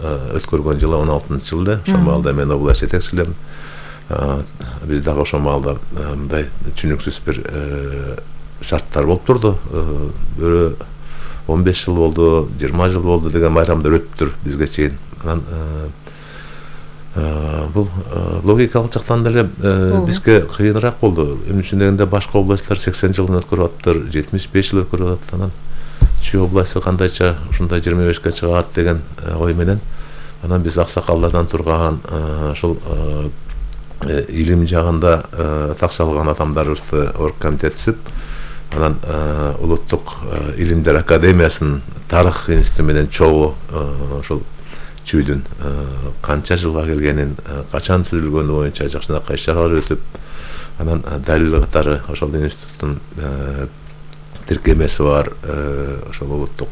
өткөргөн жылы 16-жылы ошол маалда мен область жетекчилем. Биз дагы ошол маалда мындай түшүнүксүз бир шарттар болуп турду. Бирөө 15 жыл болду, 20 жыл болду деген байрамдар өттүр бизге чейин. Анан бул логикалык жактан деле бизге кыйыныраак болду. Эмне үчүн дегенде башка областтар 80 жылын өткөрүп атыптыр, 75 жыл өткөрүп атат. Анан Чүй областы кандайча ушундай 25ке чыгат деген ой менен анан биз аксакалдардан турган ошол илим жагында такшалган адамдарыбызды оргкомитет түзүп, анан улуттук илимдер академиясынын тарых институту менен чогуу ошол Чүйдүн канча жылга келгенин, качан түзүлгөнү боюнча жакшынакай иш-чаралар өтүп, анан далил катары ошол институттун тиркемеси бар, ошол улуттук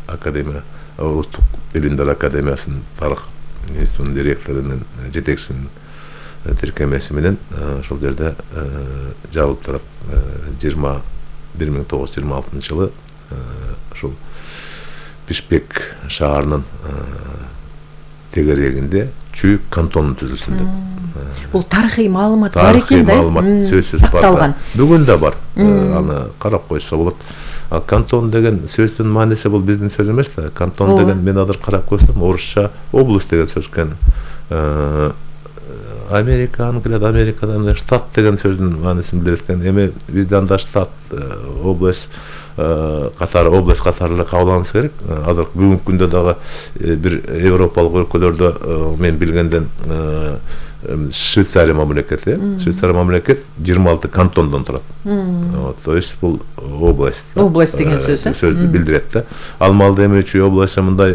академия, улуттук илимдер академиясынын тарых институтунун директорунун жетекчисинин тиркемеси менен ошол жерде жазылып турат. 1926 жылы ошол Бишкек шаарынын тегерегинде Чүй кантонун түзүлсүн деп. Бул тарыхый маалымат бар экен да? Маалымат сөзсүз бар. Бүгүн да бар. Аны карап койсо болот. Ал кантон деген сөздүн мааниси бул биздин сөз эмес да. Кантон деген мен азыр карап көрсөм орусча область деген сөз экен. Американын келет, Америкадан штат деген сөздүн маанисин билет экен. Эми бизде анда штат, область катары область катары эле кабылданса керек. Азыр бүгүнкү күндө дагы бир европалык өлкөлөрдө мен билгенден Швейцария мамлекети, Швейцария мамлекет 26 кантондон турат. То есть бул область. Область деген сөздү билдирет да. Ал маалда эми Чүй областы мындай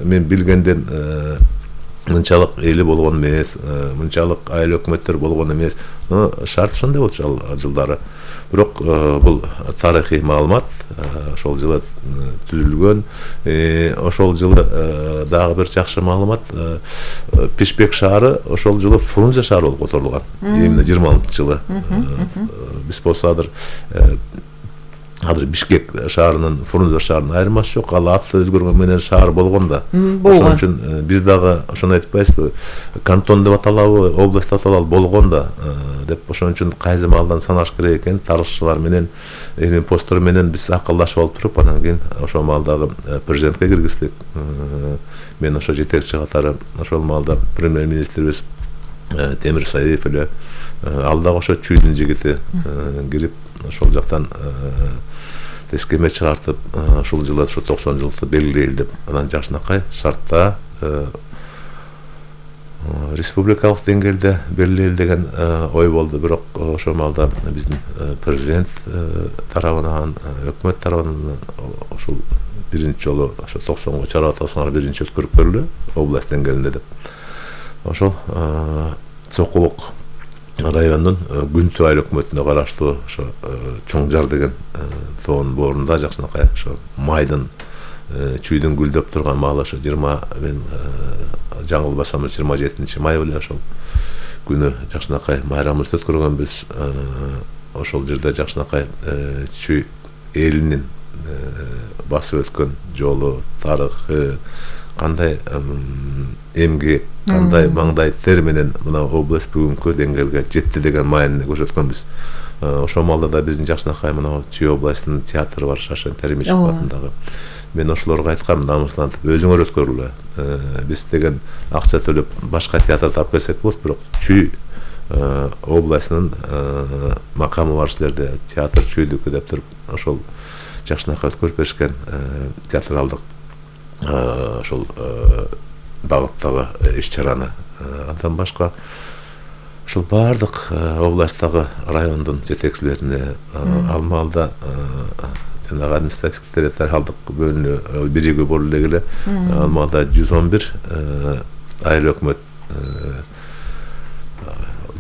мен билгенден мынчалык эли болгон эмес, мынчалык айыл өкмөттөр болгон эмес. Шарт ошондой болчу ал жылдары. Бирок бул тарыхый маалымат ошол жылы түзүлгөн. Ошол жылы дагы бир жакшы маалымат, Бишкек шаары ошол жылы Фрунзе шаары болуп которулган. Именно 26-жылы. Биз болсо азыр Бишкек шаарынын Фрунзе шаарынын айырмасы жок. Ал аты өзгөргөн менен шаар болгон да. Ошон үчүн биз дагы ошону айтпайбызбы? Кантон деп аталабы, область деп аталабы болгон да деп. Ошон үчүн кайсы маалдан санаш керек экен, тарыхчылар менен, илим посттор менен биз акылдашып алып туруп, анан кийин ошол маалдагы президентке киргиздик. Мен ошо жетекчи катары ошол маалда премьер-министрибиз Темир Саиев эле, ал дагы ошо Чүйдүн жигити кирип, ошол жактан тескеме чыгартып, ушул жылы ошо 90 жылдыкты белгилейли деп, анан жакшынакай шартта республикалык деңгээлде белгилейли деген ой болду. Бирок ошол маалда биздин президент тарабынан, өкмөт тарабынан ошол биринчи жолу ошо 90го чара атасыңар биринчи өткөрүп көрүлө область деңгээлинде деп. Ошол Сокулук районунун Күнтү айыл өкмөтүнө караштуу ошо Чоңжар деген тоонун боорунда жакшынакай ошо майдын Чүйдүн гүлдөп турган маалы ошо 20 мен жаңылбасам 27 май эле ошол күнү жакшынакай байрамыбызды өткөргөнбүз. Ошол жерде жакшынакай Чүй элинин басып өткөн жолу, тарыхы, кандай эмгек, кандай маңдай тер менен мына область бүгүнкү деңгээлге жетти деген маанини көрсөткөнбүз. Ошол маалда да биздин жакшынакай мына Чүй областынын театры бар, Шашен Теремишев атындагы. Мен ошолорго айткам, намыслантып өзүңөр өткөрүлө. Биз деген акча төлөп башка театр таап келсек болот, бирок Чүй областынын макамы бар жерлерде театр Чүйдүкү деп туруп ошол жакшынакай өткөрүп беришкен театралдык ошол багыттагы иш-чараны. Андан башка ушул баардык областтагы райондун жетекчилерине ал маалда жанагы административдик территориалдык бөлүнүү биригүү болуп эле ал маалда 111 айыл өкмөт,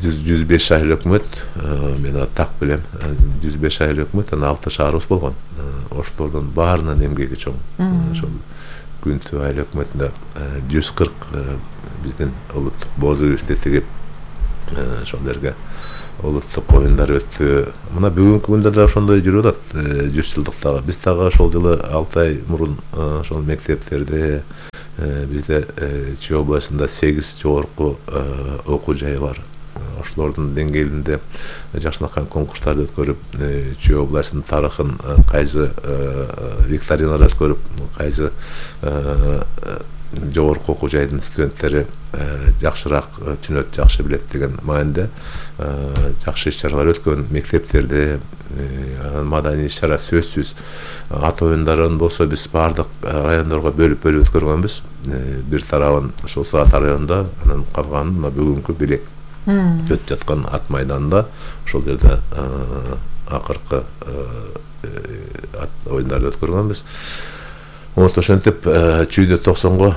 105 айыл өкмөт, мен так билем, 105 айыл өкмөт, анан 6 шаарыбыз болгон. Ошолордун баарынын эмгеги чоң. Ошол Күнтү айыл өкмөтүндө 140 биздин улуттук боз кибизди тигип ошол жерге улуттук оюндар өттү. Мына бүгүнкү күндө да ошондой жүрүп атат. 100 жылдыктагы биз дагы ошол жылы 6 ай мурун ошол мектептерде, бизде Чүй областында 8 жогорку окуу жайы бар. Ошолордун деңгээлинде жакшынакай конкурстарды өткөрүп, Чүй областынын тарыхын кайсы викториналар өткөрүп, кайсы жогорку окуу жайдын студенттери жакшыраак түшүнөт, жакшы билет деген маанайда жакшы иш-чаралар өткөн. Мектептерде маданий иш-чара сөзсүз. Ат оюндарын болсо биз баардык райондорго бөлүп өткөргөнбүз. Бир тарабын ошол Саат районунда, анан калганын мына бүгүнкү Белек өтүп жаткан ат майданында ошол жерде акыркы ат оюндарды өткөргөнбүз. Ошентип Чүйдө 90го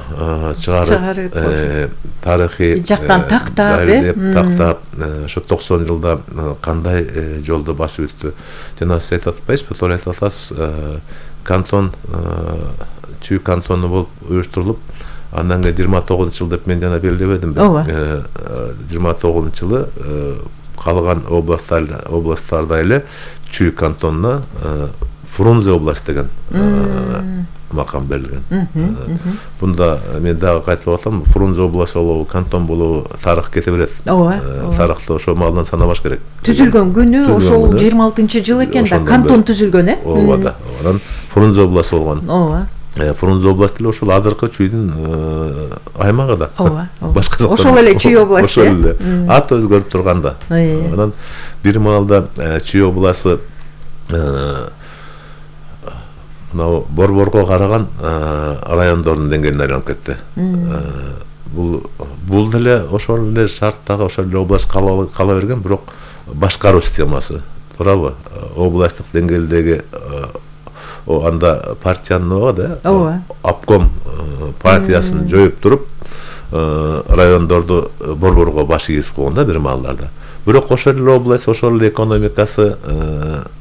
чыгарып тарыхый жактан тактап, ошо 90 жылда кандай жолду басып өттү. Жана сиз айтып атпайсызбы, туура айтып атасыз, кантон Чүй кантону болуп уюштурулуп, андан кийин 29-жылы деп мен жана белгилебедимби? 29-жылы калган областтарда эле Чүй кантонуна Фрунзе область деген макам берилген. Бунда мен дагы кайтып атам, Фрунзе область болобу, кантон болобу, тарых кете берет. Тарыхты ошол маалдан санабаш керек. Түзүлгөн күнү ошол 26-жыл экен да, кантон түзүлгөн, Ооба да. Анан Фрунзе область болгон. Фрунзе областы эле ошол азыркы Чүйдүн аймагы да. Башка ошол эле Чүй областы. Ошол эле. Ат өзгөрүп турганда. Анан бир маалда Чүй областы Борборго караган райондордун деңгээлине айланып кетти. Бул деле ошол эле шарттагы ошол эле область кала берген, бирок башкаруу системасы, туурабы? Областтык деңгээлдеги анда партиянын да, обком партиясын жоюп туруп, райондорду борборго баш ийгизип койгон да бир маалдарда. Бирок ошол эле область, ошол эле экономикасы,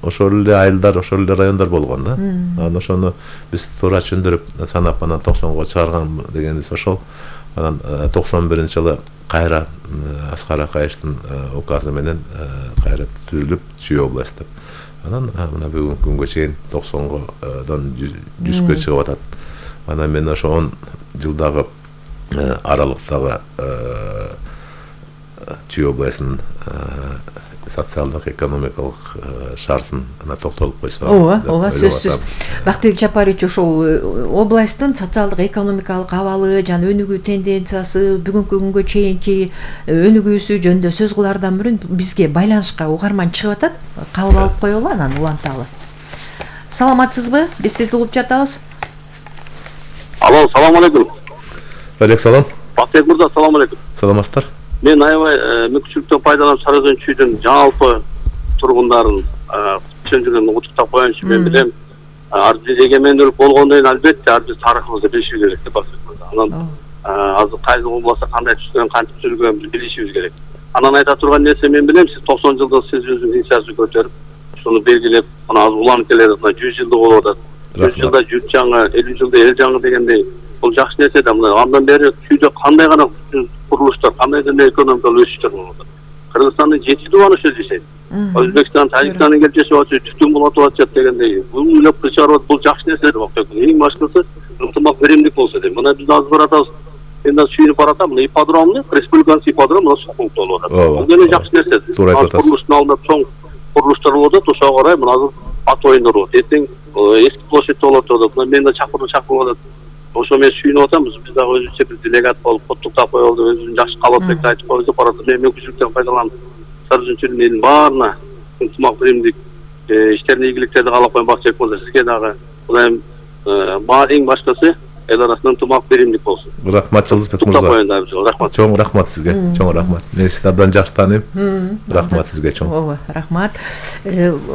ошол эле айылдар, ошол эле райондар болгон да. Анан ошону биз туура түшүндүрүп санап, анан 90го чыгарган дегенибиз ошол. Анан 91-жылы кайра Аскар Акаевдин указы менен кайра түзүлүп Чүй область деп. Анан мына бүгүнкү күнгө чейин 90годон 100гө чыгып атат. Анан мен ошо 10 жылдагы аралыктагы Чүй областынын социалдык экономикалык шартын токтолуп койсо. Ооба, сөзсүз. Бактыбек Жапарович, ошол областтын социалдык экономикалык абалы жана өнүгүү тенденциясы, бүгүнкү күнгө чейинки өнүгүүсү жөнүндө сөз кылаардан мурун бизге байланышка угарман чыгып атат. Кабыл алып коелу, анан уланталы. Саламатсызбы? Биз сизди угуп жатабыз. Алло, салам алейкум. Алейкум салам. Бактыбек мырза, салам алейкум. Саламатсыздар. Мен аябай мүмкүнчүлүктөн пайдаланып Сарыөзөн Чүйдүн жалпы тургундарын түшүндүргөн утуктап коеюнчу. Мен билем, ар бир эгемендүүлүк болгондон кийин албетте ар бир тарыхыбызды билишибиз керек деп атат. Анан азыр кайсы болбосо кандай түзүлгөн, кантип түзүлгөнүн билишибиз керек. Анан айта турган нерсе, мен билем, сиз 90 жылда сиз өзүңүздүн инициативаңызды көтөрүп, ушуну белгилеп, мына азыр уланып келе жатат, 100 жылдык болуп атат. 100 жылда журт жаңы, 50 жылда эл жаңы дегендей, бул жакшы нерсе да. Мына андан бери Чүйдө кандай гана курулуштар, кандай гана экономикалык өсүштөр болуп атат. Кыргызстандын 7 дубаны ошо жашайт. Өзбекстан, Тажикстандын келип жашап атат, түтүн болуп атат дегендей. Бул үйлөп чыгарып атат, бул жакшы нерсе деп атат. Эң башкысы ынтымак биримдик болсо дейм. Мына биз азыр баратабыз. Мен да сүйүнүп баратам. Мына ипподромду, республиканын ипподрому мына суу пункту болуп атат. Бул деле жакшы нерсе. Курулуштун алдында чоң курулуштар болуп атат, ошого карай мына азыр ат оюндар болот. Эртең эски площадьте болот деп атат. Мен да чакырып атат. Ошо мен сүйүнүп атам, биз дагы өзүбүзчө бир делегат болуп, коттуктап коелу, өзүнүн жакшы калаатбекти айтып коебуз деп барат. Мен мүмкүнчүлүктөн пайдаланып Сарыөзөн Чүйдүн элинин баарына ынтымак биримдик иштерин ийгиликтерди каалап коем. Бакчыбек мырза, сизге дагы Кудайым эң башкысы эл арасында ынтымак биримдик болсун. Рахмат Жылдызбек мырза. Рахмат. Чоң рахмат сизге. Чоң рахмат. Мен сизди абдан жакшы тааныйм. Рахмат сизге чоң. Ооба, рахмат.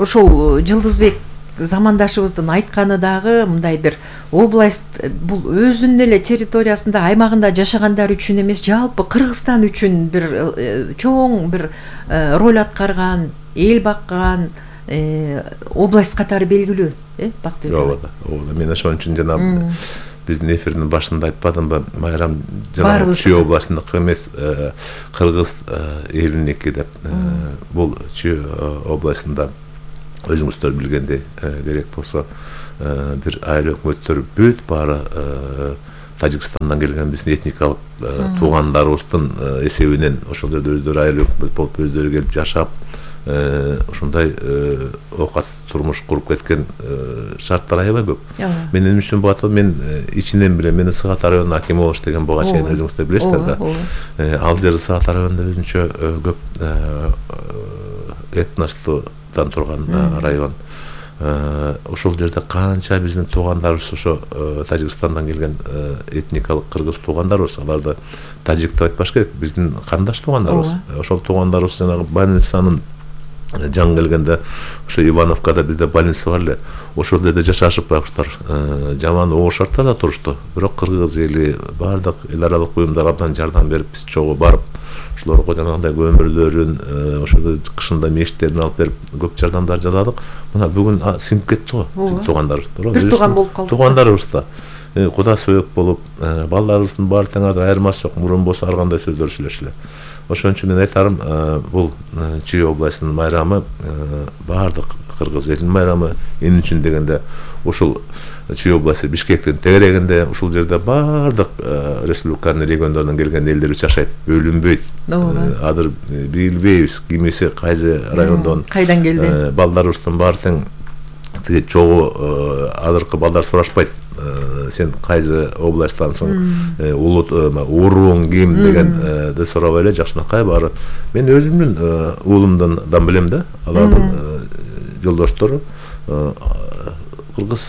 Ошол Жылдызбек замандашыбыздын айтканы дагы мындай бир область бул өзүнүн эле территориясында, аймагында жашагандар үчүн эмес, жалпы Кыргызстан үчүн бир чоң бир роль аткарган, эл баккан область катары белгилүү, Бактыбек. Ооба, мен ошон үчүн жана биздин эфирдин башында айтпадымбы, Майрам жана Чүй областындыкы эмес, кыргыз элиники деп. Бул Чүй областында өзүңүздөр билгендей керек болсо бир айыл өкмөттөр бүт баары Тажикстандан келген биздин этникалык туугандарыбыздын эсебинен ошол жерде өздөрү айыл өкмөт болуп өздөрү келип жашап ушундай оокат турмуш куруп кеткен шарттар аябай көп. Менин үчүн буга мен ичинен билем. Мен Сыгат районунун акими болуш деген буга чейин өзүңүздөр билесиздер да. Ал жер Сыгат районунда өзүнчө көп этностудан турган район. Ошол жерде канча биздин туугандарыбыз ошо Тажикстандан келген этникалык кыргыз туугандарыбыз, аларды тажик деп айтпаш керек, биздин кандаш туугандарыбыз. Ошол туугандарыбыз жанагы больницанын жаңы келгенде ошо Ивановкада бизде больница бар эле. Ошол жерде жашашып байкуштар жаман оор шарттарда турушту. Бирок кыргыз эли баардык эл аралык уюмдар абдан жардам берип, биз чогуу барып, ошолорго жанагындай көмүрлөрүн, ошол кышында мешиттерин алып берип, көп жардамдар жасадык. Мына бүгүн сиңип кетти го туугандарыбыз. Бир тууган болуп калды. Туугандарыбыз да куда сөөк болуп, балдарыбыздын баары тең айырмасы жок. Мурун болсо ар кандай сөздөр сүйлөшүлө. Ошон үчүн мен айтарым, бул Чүй областынын майрамы баардык кыргыз элинин майрамы. Эмне үчүн дегенде, ушул Чүй областы Бишкектин тегерегинде, ушул жерде баардык республиканын региондорунан келген элдер жашайт, бөлүнбөйт. Азыр билбейбиз кимиси кайсы райондон, кайдан келди. Балдарыбыздын баары тең тиги чогуу азыркы балдар сурашпайт. Сен кайсы областтансың, урууң ким дегенди сурабай эле жакшынакай баары. Мен өзүмдүн уулумдан билем да, алардын жолдоштору кыргыз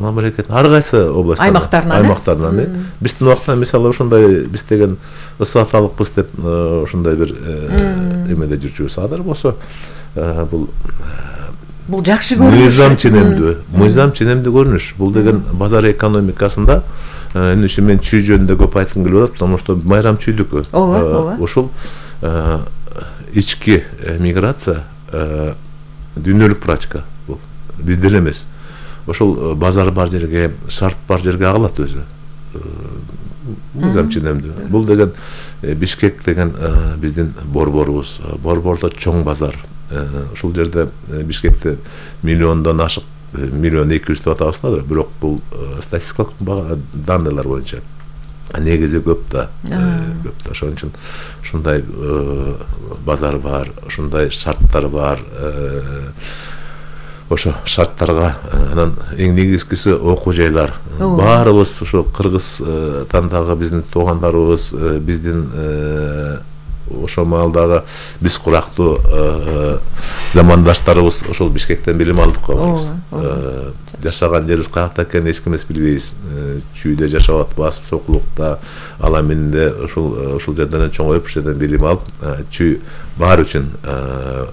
мамлекетинин ар кайсы областтарынан, аймактарынан. Биздин убакта мисалы ошондой биз деген ысы аталыкпыз деп ошондой бир эмеде жүрчүбүз. Азыр болсо бул жакшы көрүнүш. Мыйзам ченемдүү көрүнүш. Бул деген базар экономикасында эмне үчүн мен Чүй жөнүндө көп айткым келип атат, потому что майрам Чүйдүкү. Ушул ички миграция дүйнөлүк практика. Бул бизде эле эмес. Ошол базар бар жерге, шарт бар жерге агылат өзү. Мыйзам ченемдүү. Бул деген Бишкек деген биздин борборубуз. Борбордо чоң базар. Ушул жерде Бишкекте миллиондон ашык, 1.2 деп атабыздар, бирок бул статистикалык данныйлар боюнча негизи көп да. Ошон үчүн ушундай базар бар, ушундай шарттар бар. Ошо шарттарга анан эң негизгиси окуу жайлар. Баарыбыз ошо Кыргызстан дагы биздин туугандарыбыз, биздин ошо маалдагы биз курактуу замандаштарыбыз ошол Бишкектен билим алдык го. Жашаган жерибиз каякта экенин эч ким билбейбиз. Чүйдө жашап атпасып, Сокулукта, Аламинде ошол жерден чоңоюп, ошол жерден билим алып, Чүй баары үчүн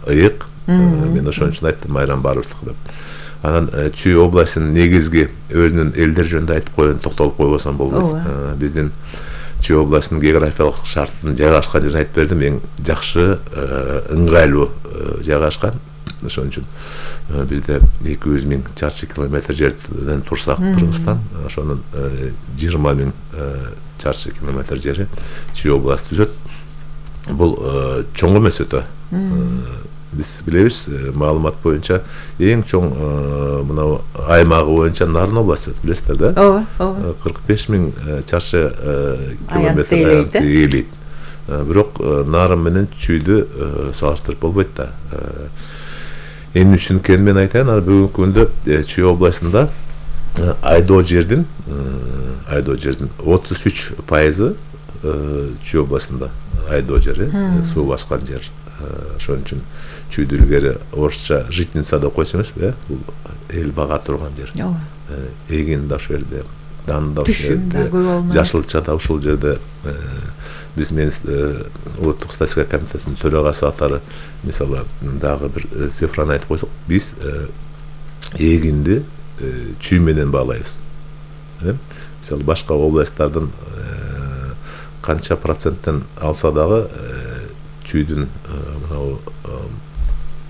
ыйык. Мен ошон үчүн айттым, майрам баарыбыздыкы деп. Анан Чүй областынын негизги өзүнүн элдер жөнүндө айтып коюн, токтолуп койбосом болбойт. Биздин Чүй областынын географиялык шартын жайгашкан жерин айтып бердим, эң жакшы, ыңгайлуу жайгашкан. Ошон үчүн бизде 200.000 чарчы километр жерден турсак Кыргызстан, ошонун 20.000 чарчы километр жери Чүй областы түзөт. Бул чоң эмес өтө. Биз билебиз, маалымат боюнча эң чоң мына аймагы боюнча Нарын областы өтөт, билесиздер да? 45.000 чарчы километр ээлейт. Бирок Нарын менен Чүйдү салыштырып болбойт да. Эмне үчүн экенин мен айтайын, бүгүнкү күндө Чүй областында айдоо жердин 33% Чүй областында айдоо жери, суу баскан жер. Ошон үчүн Чүйдү илгери орусча житница деп койчу эмеспи, бул эл бага турган жер. Эгин да ошол жерде, дан да ошол жерде, жашылча да ушул жерде. Биз мен улуттук статистика комитетинин төрагасы катары мисалы дагы бир цифраны айтып койсок, биз эгинди Чүй менен баалайбыз. Мисалы башка областтардын канча проценттен алса дагы Чүйдүн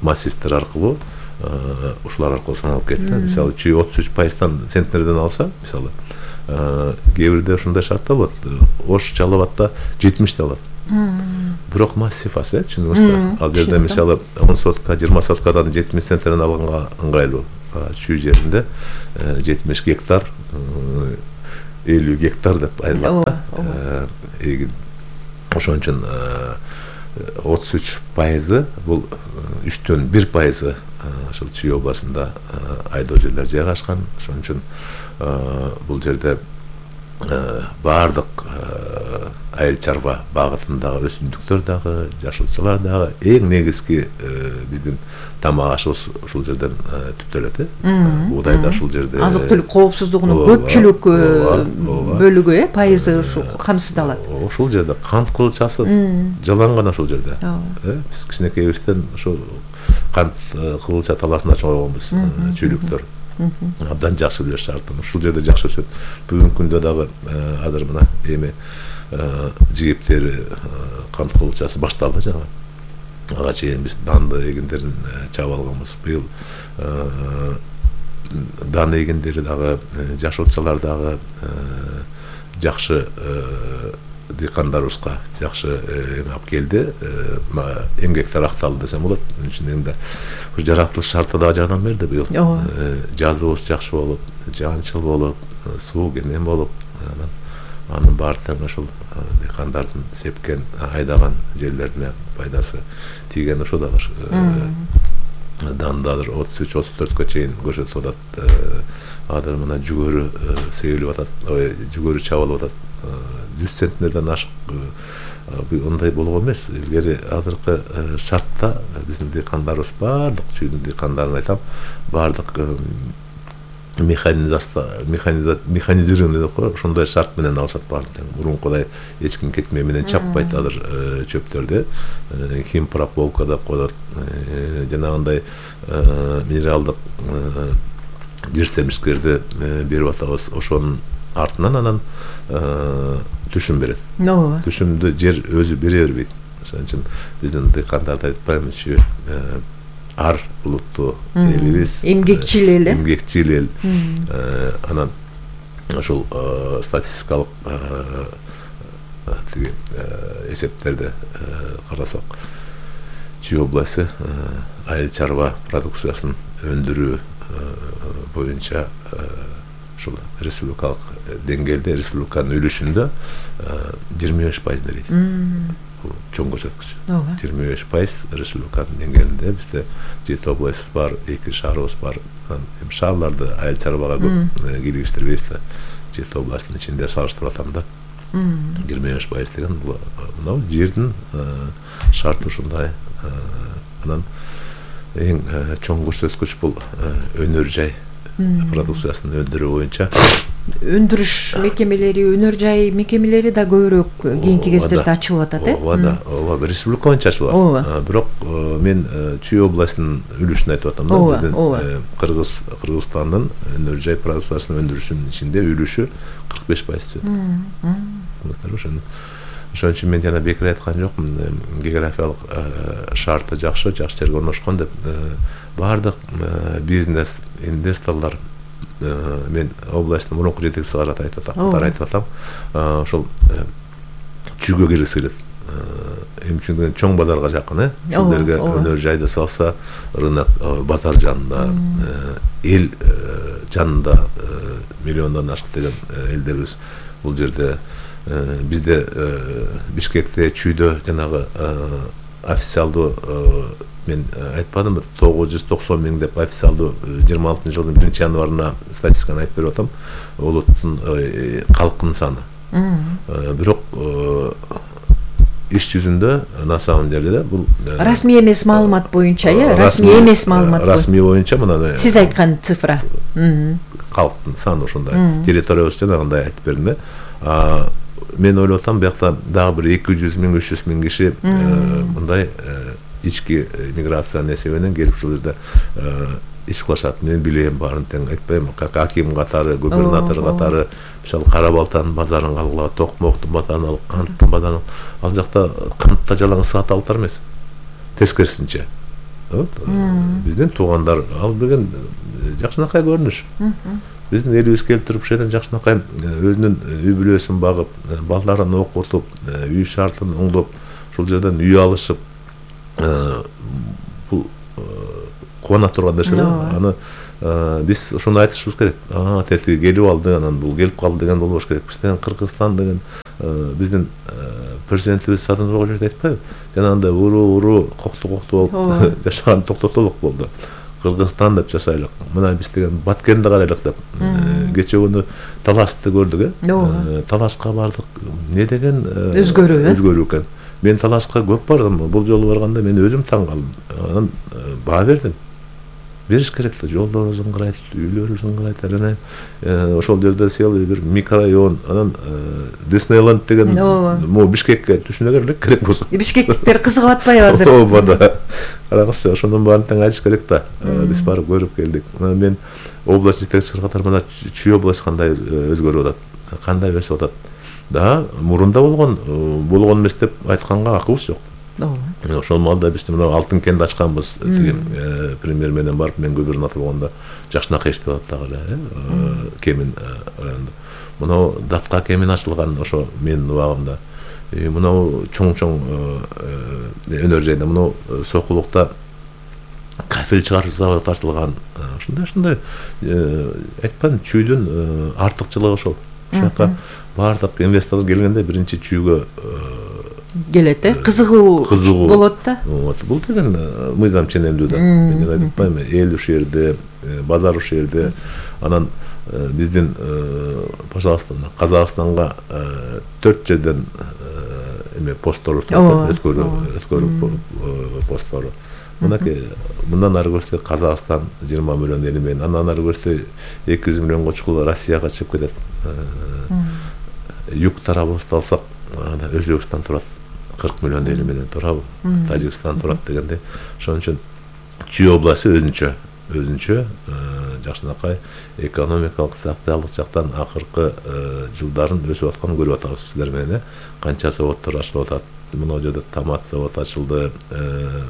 массивтер аркылуу ушулар аркылуу саналып кетти. Мисалы Чүй 33%-тан центнерден алса, мисалы кээ бирде ушундай шарттар болот. Ош Жалал Абадта 70 алат. Бирок массив аз, түшүнүңүз да. Ал жерде мисалы 10 сотка, 20 соткадан 70 центнерден алганга ыңгайлуу. Чүй жеринде 70 гектар 50 гектар деп айтылат. Эгин ошон үчүн 33% бул 3төн 1% ошол Чүй областында айдоо жерлер жайгашкан. Ошон үчүн бул жерде баардык айыл чарба багытындагы өсүмдүктөр дагы, жашылчалар дагы эң негизги биздин тамак ашыбыз ушул жерден түптөлөт. Буудай да ушул жерде. Азык түлүк коопсуздугунун көпчүлүк бөлүгү, пайызы ушул камсыздалат. Ушул жерде кант кылчасы жаланган ушул жерде. Биз кичинекейибизден ошо кант кылча таласына чогойгонбуз, чүйлүктөр. Абдан жакшы билер шартын. Ушул жерде жакшы өсөт. Бүгүнкү күндө дагы азыр мына эми жигиптери кант кылчасы башталды жана. Ага чейин биз данды эгиндерин чаап алганбыз. Быйыл дан эгиндери дагы, жашылчалар дагы жакшы дыйкандарыбызга жакшы эме алып келди. Эмгектер акталды десем болот. Мун үчүн да жаратылыш шарты дагы жардам берди быйыл. Жазыбыз жакшы болуп, жаанчыл болуп, суу кенен болуп, анын баары тең ошол дыйкандардын сепкен, айдаган жерлерине пайдасы тийген ошо дагы. Дандадыр 33-34-кө чейин көрсөтүп атат. Азыр мына жүгөрү себилип атат, жүгөрү чабылып атат. 100 центнерден ашык ондай болгон эмес. Илгери азыркы шартта биздин дыйкандарыбыз баардык чүйдүн дыйкандарын айтам, баардык механизированный деп коет, ошондой шарт менен алышат баардык. Мурункудай эч ким кетме менен чаппайт азыр чөптөрдү. Химпрополка деп коет. Жанагындай минералдык жерсемишкерди берип атабыз. Ошонун артынан анан түшүм берет. Түшүмдү жер өзү бере бербейт. Ошон үчүн биздин дыйкандарды айтпаймынчы ар улуттуу элибиз, эмгекчил эл, эмгекчил эл. Анан ошол статистикалык тиги эсептерди карасак, Чүй областы айыл чарба продукциясын өндүрүү боюнча ушул республикалык деңгээлде, республиканын үлүшүндө 25% дейт. Бул чоң көрсөткүч. 25% республиканын деңгээлинде. Бизде 7 область бар, 2 шаарыбыз бар. Эми шаарларды айыл чарбага көп кийлигиштирбейбиз да. 7 областтын ичинде салыштырып атам да. 25% деген бул мына жердин шарты ушундай. Анан эң чоң көрсөткүч бул өнөр жай продукциясын өндүрүү боюнча. Өндүрүш мекемелери, өнөр жай мекемелери да көбүрөөк кийинки кездерде ачылып атат, ооба, республика боюнча ачылып атат. Бирок мен Чүй областынын үлүшүн айтып атам да. Биздин Кыргызстандын өнөр жай продукциясын өндүрүшүнүн ичинде үлүшү 45% өтөт. Ошон үчүн мен жана бекер айткан жокмун, географиялык шарты жакшы жерге орношкон деп. Баардык бизнес, инвесторлор, мен областтын мурунку жетекчиси катары айтып атам, ошол Чүйгө келгиси келет. Эми чүндөн чоң базарга жакын, ошол жерге өнөр жайды салса, рынок базар жанында, эл жанында миллиондон ашык деген элдерибиз бул жерде. Бизде Бишкекте, Чүйдө жанагы официалдуу мен айтпадымбы, 990 миң деп официалдуу 26-жылдын 1-январына статистиканы айтып берип атам. Улуттун калктын саны. Бирок иш жүзүндө на самом деле бул расмий эмес маалымат боюнча, расмий эмес маалымат. Расмий боюнча мына сиз айткан цифра. Калктын саны ошондой. Территориябыз жанагындай айтып бердим. Мен ойлоп атам, биякта дагы бир 200 миң, 300 миң киши мындай ички миграциянын эсебинен келип ушул жерде иш кылышат. Мен билем баарын тең айтпайм. Аким катары, губернатор катары, мисалы Кара Балтанын базарын алгыла, Токмоктун базарын алып, Канттын базарын ал жакта Кантта жалаң саталыктар эмес. Тескерисинче. Биздин туугандар ал деген жакшынакай көрүнүш. Биздин элибиз келип туруп ушул жерден жакшынакай өзүнүн үй бүлөсүн багып, балдарын окутуп, үй шартын оңдоп, ушул жерден үй алышып, бул кубана турган нерсе. Аны биз ушуну айтышыбыз керек. Тетиги келип алды, анан бул келип калды деген болбош керек. Бизден Кыргызстан деген биздин президентибиз Садыр Нургалиев айтпайбы? Жанагындай уруу кокту болуп жашаган токтотолук болду. Кыргызстан деп жашайлык. Мына биз деген Баткенди карайлык деп. Кече күнү Талашты көрдүк, Талашка бардык. Не деген өзгөрүү экен. Мен Талашка көп бардым. Бул жолу барганда мен өзүм таң калдым. Анан баа бердим. Бериш керек да, жолдор ыңгырайт, үйлөр ыңгырайт. Анан ошол жерде целый бир микрорайон, анан Диснейленд деген могу Бишкекке түшүнө керек болсо. Бишкектиктер кызыгып атпайбы азыр? Ооба. Караңызчы, ошонун баарын тең айтыш керек да. Биз барып көрүп келдик. Мен область жетекчиси катары мына Чүй область кандай өзгөрүп атат, кандай өсүп атат. Да, мурунда болгон эмес деп айтканга акыбыз жок. Ошол маалда биз мына Алтын кенди ачканбыз. Премьер менен барып, мен губернатор болгондо Жакшынакай иштеп атат дагы эле, Кемин районунда. Мына Датка Кемин ачылган ошо менин убагымда. Мына чоң өнөр жайда, мына Сокулукта кафель чыгаруу заводу ачылган. Ушундай айтпадым, Чүйдүн артыкчылыгы ошол. Ошока бардык инвестор келгенде биринчи Чүйгө келет, кызыгуу болот да. Бул деген мыйзам ченемдүү да. Мен айтпайм, эл ушул жерде, базар ушул жерде. Анан биздин, пожалуйста, Казакстанга 4 жерден посттор өткөрүү посттор. Мындан ары көрсө Казакстан 20 миллион эли менен, андан ары көрсө 200 миллионго чукул Россияга чыгып кетет. Юг тарабыбызды алсак, Өзбекстан турат, 40 миллион эли менен турабы, Тажикстан турат дегенде. Ошон үчүн Чүй областы өзүнчө Жакшынакай экономикалык, социалдык жактан акыркы жылдарын өсүп атканын көрүп атабыз силер менен. Канча заводдор ачылып атат. Мына жерде томат заводу ачылды,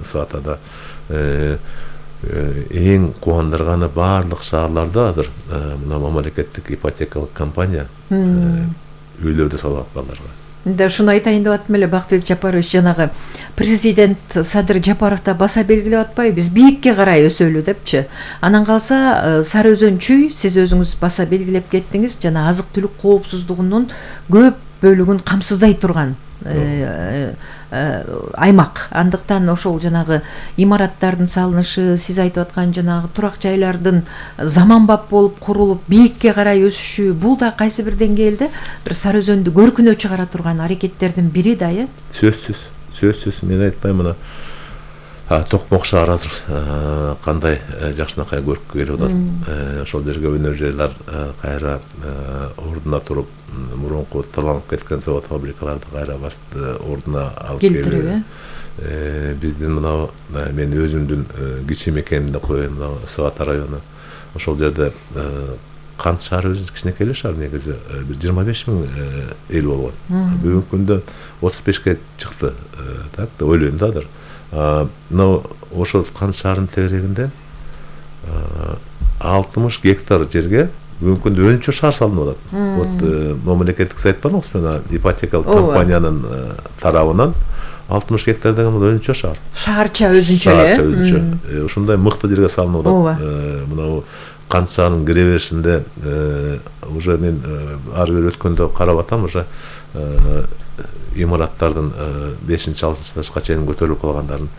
Саатада. Эң кубандырганы баардык шаарларда азыр мына мамлекеттик ипотекалык компания үйлөрдү салып аткандарга. Да, ушуну айтайын деп аттым эле, Бактыбек Жапарович, жанагы президент Садыр Жапаров да баса белгилеп атпайбы, биз бийикке карай өсөлү депчи. Анан калса Сары Өзөн Чүй, сиз өзүңүз баса белгилеп кеттиңиз, жана азык-түлүк коопсуздугунун көп бөлүгүн камсыздай турган аймак. Андыктан ошол жанагы имараттардын салынышы, сиз айтып аткан жанагы турак жайлардын заманбап болуп курулуп бийикке карай өсүшү, бул да кайсы бир деңгээлде бир Сары Өзөндү көркүнө чыгара турган аракеттердин бири да, Сөзсүз, мен айтпайм, мына Токмок шаары кандай Жакшынакай көркү келип атат. Ошол жерге өнөр жайлар кайра ордуна туруп, мурунку таланып кеткен завод фабрикаларды кайра ордуна алып келип. Биздин мына мен өзүмдүн кичи мекенimде коеюн, Саат району. Ошол жерде Кант шаары өзү кичинекей эле шаар, негизи 25 000 эл болгон. Бүгүнкү күндө 35ке чыкты, так да ойлойм да азыр. Но ошол Кант шаарынын тегерегинде 60 гектар жерге бүгүнкү күндө өнчө шаар салынып атат. Вот мамлекеттик сайт бар мына ипотекалык компаниянын тарабынан 60 гектар деген бул өнчө шаар. Шаарча өзүнчө эле. Ушундай мыкты жерге салынып атат. Мына Кант шаарынын кире беришинде уже мен ары бери өткөндө карап атам, уже имараттардын 5-6 этажга чейин көтөрүлүп калгандарын.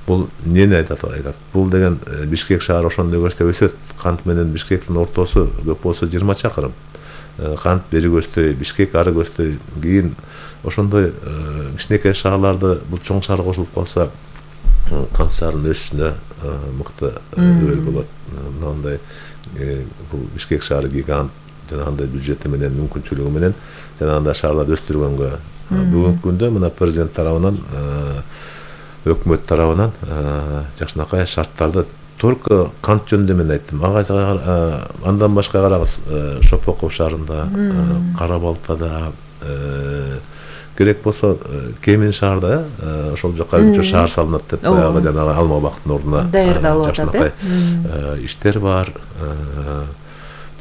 Бул эмнени айтат? Бул деген Бишкек шаары ошондой көрсө өсөт. Кант менен Бишкектин ортосу көп болсо 20 чакырым. Кант бери көздөй, Бишкек ары көздөй. Кийин ошондой кичинекей шаарларды бул чоң шаарга кошулуп калса, Кант шаарынын өсүшүнө мыкты өбөл болот. Мындай бул Бишкек шаары гигант, жанагындай бюджети менен, мүмкүнчүлүгү менен жанагындай шаарларды өстүргөнгө бүгүнкү күндө мына президент тарабынан, өкмөт тарабынан Жакшынакай шарттарды только Кант жөнүндө мен айттым. Андан башка караңыз, Шопоков шаарында, Кара-Балтада, керек болсо Кемин шаарда, ошол жака үчөө шаар салынат деп баягы жанагы Алма бактын ордуна даярдалып атат. Иштер бар.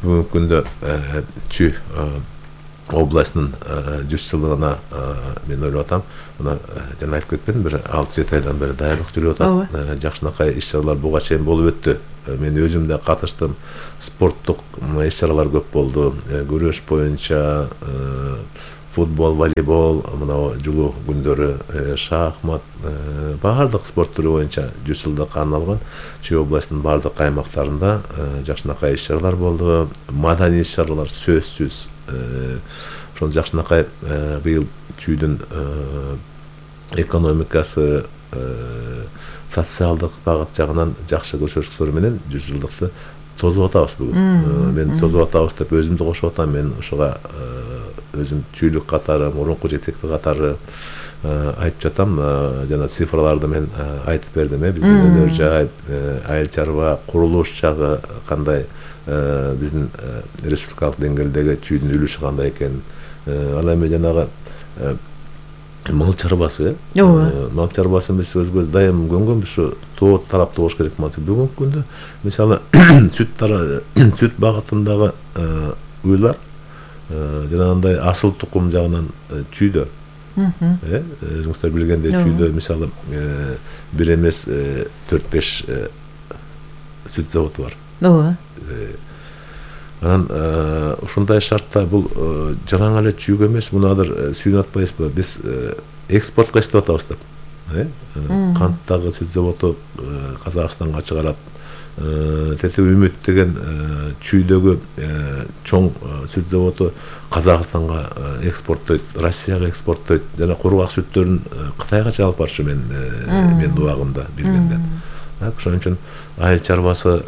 Бүгүнкү күндө Чүй областынын 100 жылдыгына мен ойлоп атам. Мына жана айтып кетпедим, бир 6-7 айдан бери даярдык жүрүп атат. Жакшынакай иш-чаралар буга чейин болуп өттү. Мен өзүм да катыштым. Спорттук иш-чаралар көп болду. Күрөш боюнча, футбол, волейбол, мына жулуу күндөрү шахмат, баардык спорт түрү боюнча 100 жылдыкка арналган Чүй областынын баардык аймактарында жакшынакай иш-чаралар болду. Маданий иш-чаралар сөзсүз. Ошол Жакшынакай быйыл Чүйдүн экономикасы, социалдык багыт жагынан жакшы көрсөтүүлөр менен 100 жылдыкты тосуп атабыз бүгүн. Мен тосуп атабыз деп өзүмдү кошуп атам. Мен ошого өзүм чүйлүк катары, мурунку жетекти катары айтып жатам. Жана цифрларды мен айтып бердим. Биздин өнөр жай, айыл чарба, курулуш жагы кандай, биздин республикалык деңгээлдеги чүйдүн үлүшү кандай экен. Ал эми жанагы мал чарбасы, мал чарбасы биз өзгө дайым көнгөнбүз, ушу тоо тарапта болуш керек. Бүгүнкү күндө мисалы сүт багытындагы уйлар жанагындай асыл тукум жагынан чүйдө. Өзүңүздөр билгендей чүйдө мисалы бир эмес 4-5 сүт заводу бар. Анан ушундай шартта бул жараң эле чүйгө эмес, муну азыр сүйүнүп атпайбызбы? Биз экспортко иштеп атабыз деп. Канттагы сүт заводу Казакстанга чыгарат. Тете Үмүт деген чүйдөгү чоң сүт заводу Казакстанга экспорттойт, Россияга экспорттойт. Жана кургак сүттөрүн Кытайга чыгарып барчу мен убагымда билгенде. Ошон үчүн айыл чарбасы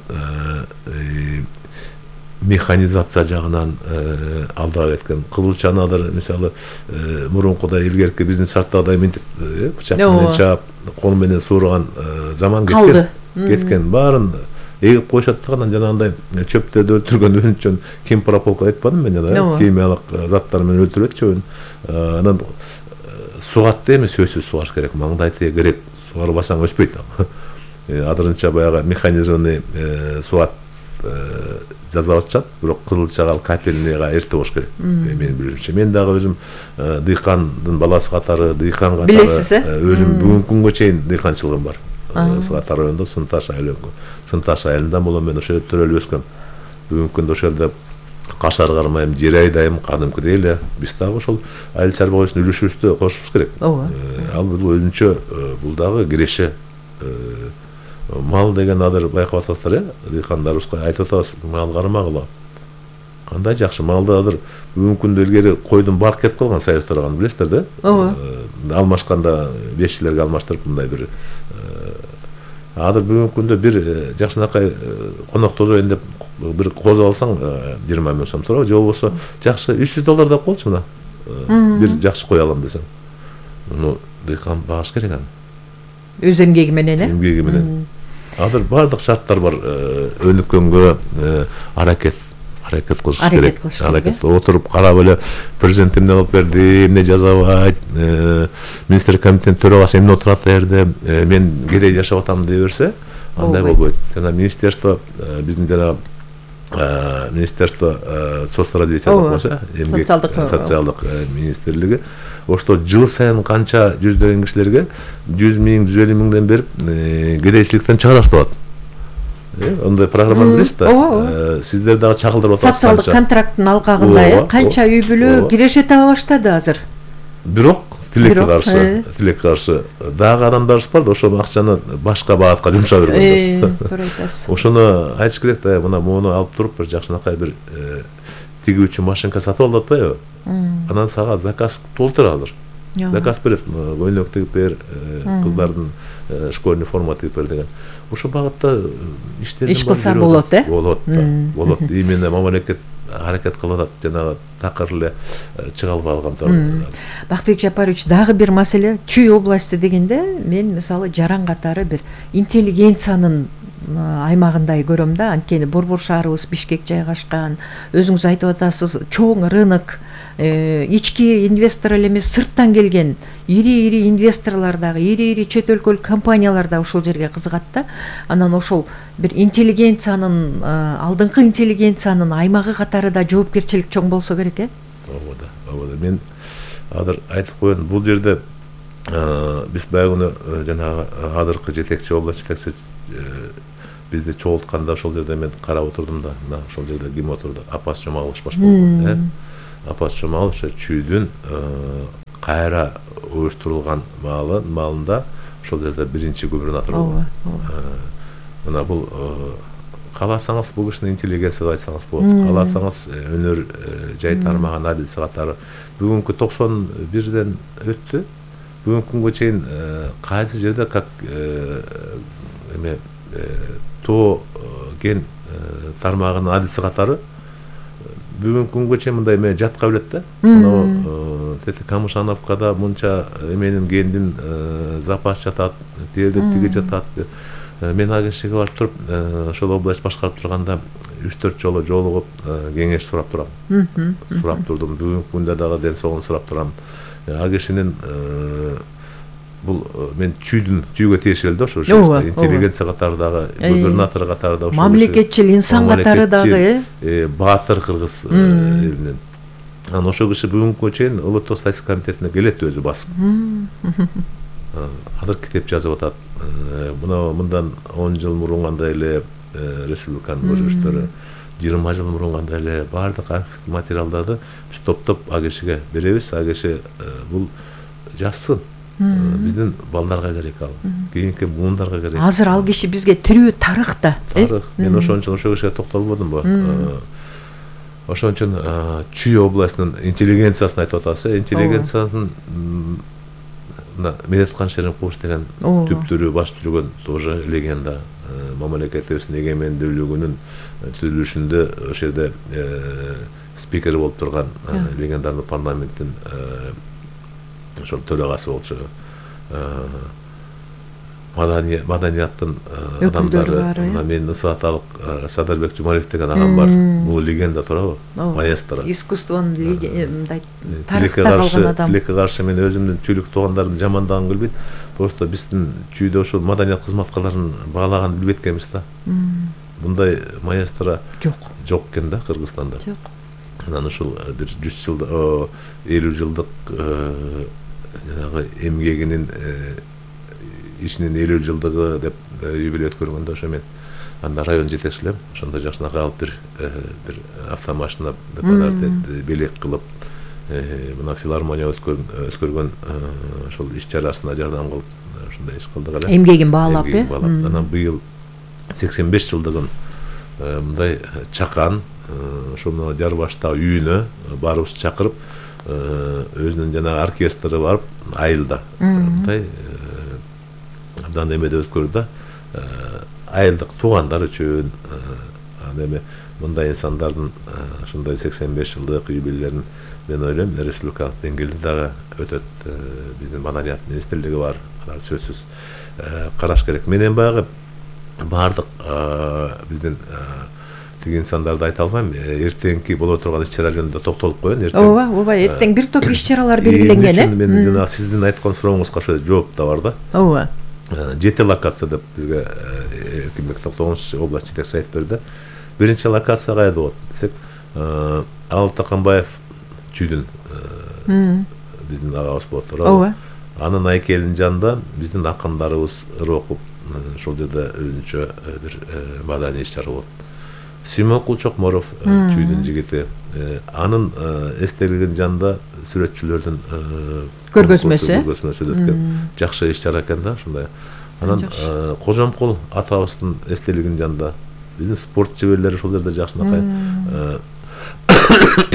механизация жагынан алдыга кеткен. Кылычанадыр мисалы мурункудай илгерки биздин шарттагыдай мынтип бычак менен чаап, кол менен суурган заман кеткен. Баарын эгип коюшат да, анан жанагындай чөптөрдү өлтүргөн үчүн кемпрополка айтпадым мен, жана химиялык заттар менен өлтүрөт чөбүн. Анан сугатты эми сөзсүз сугаш керек. Маңдайты керек, сугарбасаң өспөйт. Азырынча баягы механизированный сугат жазып атышат, бирок кызылчага капельныйга эрте болуш керек. Менин билишимче. Мен дагы өзүм дыйкандын баласы катары, дыйкан катары. Билесиз, өзүм бүгүнкү күнгө чейин дыйканчылыгым бар. Сыгатар районунда Сынташ айылында болом, мен ошол жерде төрөлүп өскөм. Бүгүнкү күндө ошол жерде кашар кармайм, жер айдайм, кадымкыдей эле. Биз дагы ошол айыл чарба боюнча үлүшүбүздү кошушубуз керек. Ал бул өзүнчө, бул дагы киреше. Мал деген азыр байкап атасыздар, дыйкандарыбызга айтып атабыз, мал кармагыла. Кандай жакшы малды азыр бүгүнкү күндө илгери койдун барк кетип калган союздарга, билесиздер да? Алмашканда бешчилерге алмаштырып мындай бир азыр бүгүнкү күндө бир Жакшынакай конок тозоюн деп бир козу алсаң 20 миң сом турат, же болбосо жакшы $300 деп колчу мына. Бир жакшы кой алам десең. Муну дыйкан багыш керек аны. Өз эмгеги менен, эмгеги менен. Азыр баардык шарттар бар. Өнүккөнгө аракет кылыш керек. Аракет отуруп карап эле президент эмне кылып берди, эмне жазабайт, министрлик комитетинин төрагасы эмне отурат жерде, мен кедей жашап атам дей берсе, андай болбойт. Жана министерство, биздин жана министерство соцразвития деп коебуз, эмгек социалдык министрлиги ошто жыл сайын канча жүздөгөн кишилерге 100 миң, 150 миңден берип кедейчиликтен чыгарат атат. Ондай программаны билесиз да? Сиздер дагы чагылдырып атасыздар. Социалдык контракттын алкагында канча үй бүлө киреше таба баштады азыр. Бирок тилекке каршы дагы адамдарыбыз бар да, ошол акчаны башка багатка жумшап жүргөн. Туура айтасыз. Ошону айтыш керек да, мына муну алып туруп бир Жакшынакай бир тигүүчү машинка сатып алып атпайбы? Анан сага заказ толтур азыр. Заказ берет, көйнөк тигип бер, кыздардын школьный форма тигип бер деген. Ошол багытта иш кылса болот, болот. Именно мамлекет аракет кылып атат, жанагы такыр эле чыга албай калган. Бактыбек Жапарович, дагы бир маселе, Чүй областы дегенде мен мисалы Жаран катары бир интеллигенциянын аймагындай көрөм да. Анткени Борбор шаарыбыз Бишкек жайгашкан, өзүңүз айтып атасыз, чоң рынок, ички инвестор эле эмес, сырттан келген ири инвесторлор дагы, ири чет өлкөлүк компаниялар да ушул жерге кызыгат да. Анан ошол бир интеллигенциянын, алдыңкы интеллигенциянын аймагы катары да жоопкерчилик чоң болсо керек, Ооба. Мен азыр айтып коеюн, бул жерде биз байгы жанагы азыркы жетекчи, область жетекчи бизди чогултканда ошол жерде мен карап отурдум да, мына ошол жерде ким отурду? Апас Жомалович баш болгон, Апас Жомалович чүйдүн кайра уюштурулган маалында ошол жерде биринчи губернатор болгон. Мына бул кааласаңыз бул кишини интеллигенция деп айтсаңыз болот. Кааласаңыз өнөр жай тармаган адис катары бүгүнкү 91ден өттү. Бүгүнкү күнгө чейин кайсы жерде как эме то ген тармагынын адиси катары бүгүнкү күнгө чейин мындай эме жатка билет да. Тети Камышановкада мынча эменин гендин запас жатат, тиги жатат. Мен агенттикке барып туруп, ошол область башкарып турганда 3-4 жолу жолугуп кеңеш сурап турам. Сурап турдум. Бүгүнкү күндө дагы ден соолугун сурап турам. Агенттиктин бул мен чүйгө тиешелүү да ошо интеллигенция катары дагы, губернатор катары да ошо мамлекетчил инсан катары дагы баатыр кыргыз элинен. Анан ошол киши бүгүнкү чейин улуттук статистика комитетине келет өзү басып. Азыр китеп жазып атат. Мындан 10 жыл мурун кандай эле республиканын өзгөрүштөрү, 20 жыл мурун кандай эле баардык архив материалдарды биз топтоп агешиге беребиз. Агеши бул жазсын. Биздин балдарга керек ал. Кийинки буундарга керек. Азыр ал киши бизге тирүү тарых да. Тарых. Мен ошон үчүн ошол кишиге токтолбодумбу? Ошон үчүн Чүй областынын интеллигенциясын айтып атасыз. Интеллигенциянын Медеткан Шеримкулович деген түптүрү баш жүргөн тоже легенда. Мамлекетибиздин эгемендүүлүгүнүн түзүлүшүндө ошол жерде спикер болуп турган легендарный парламенттин ошол төрагасы болчу. Маданияттын адамдары, мен Ысаталык Садырбек Жумалиев деген агам бар. Бул легенда туурабы? Маэстро. Искусствонун тарыхта калган адам. Тилекке каршы мен өзүмдүн чүйлүк туугандардын жамандагын билбейт. Просто биздин чүйдө ошол маданият кызматкарларын баалаганды билбейт экенбиз да. Мындай маэстро жок экен да Кыргызстанда. Жок. Анан ушул бир 100 жылдык, 50 жылдык жанагы эмгегинин ишинин 50 жылдыгы деп юбилей өткөргөндө ошо мен анда район жетекчилем. Ошондо жакшынакай алып бир автомашина белек кылып мына филармония өткөргөн ошол иш чарасына жардам кылып ушундай иш кылдык эле. Эмгегин баалап, Анан быйыл 85 жылдыгын мындай чакан ошону жар башта үйүнө баарыбыз чакырып өзүнүн жанагы оркестри барып айылда мындай абдан эмеде өткөрдү да. Айылдык туугандар үчүн эме мындай инсандардын ушундай 85 жылдык юбилейлерин мен ойлойм республикалык деңгээлде дагы өтөт. Биздин маданият министрлиги бар, алар сөзсүз караш керек. Менен баягы баардык биздин тиги инсандарды айта албайм. Эртеңки боло турган иш-чара жөнүндө токтолуп коеюн. Ооба, эртең бир топ иш-чаралар белгиленген, Мен жана сиздин айткан сурооңузга ошо жооп да бар да. Ооба. 7 локация деп бизге Эркинбек Токтогонович область жетекчиси айтып берди. Биринчи локация кайда болот десек, Алып Таканбаев чүйдүн биздин агабыз болот туурабы? Анын айкелинин жанында биздин акындарыбыз окуп, ошол жерде өзүнчө бир маданий иш-чара болот. Сүймөнкул Чокморов чүйдүн жигити, анын эстелигинин жанында сүрөтчүлөрдүн көргөзмөсү өткөн жакшы иш-чара экен да, ушундай. Анан Кожомкул атабыздын эстелигинин жанында биздин спорт чеберлери ошол жерде жакшынакай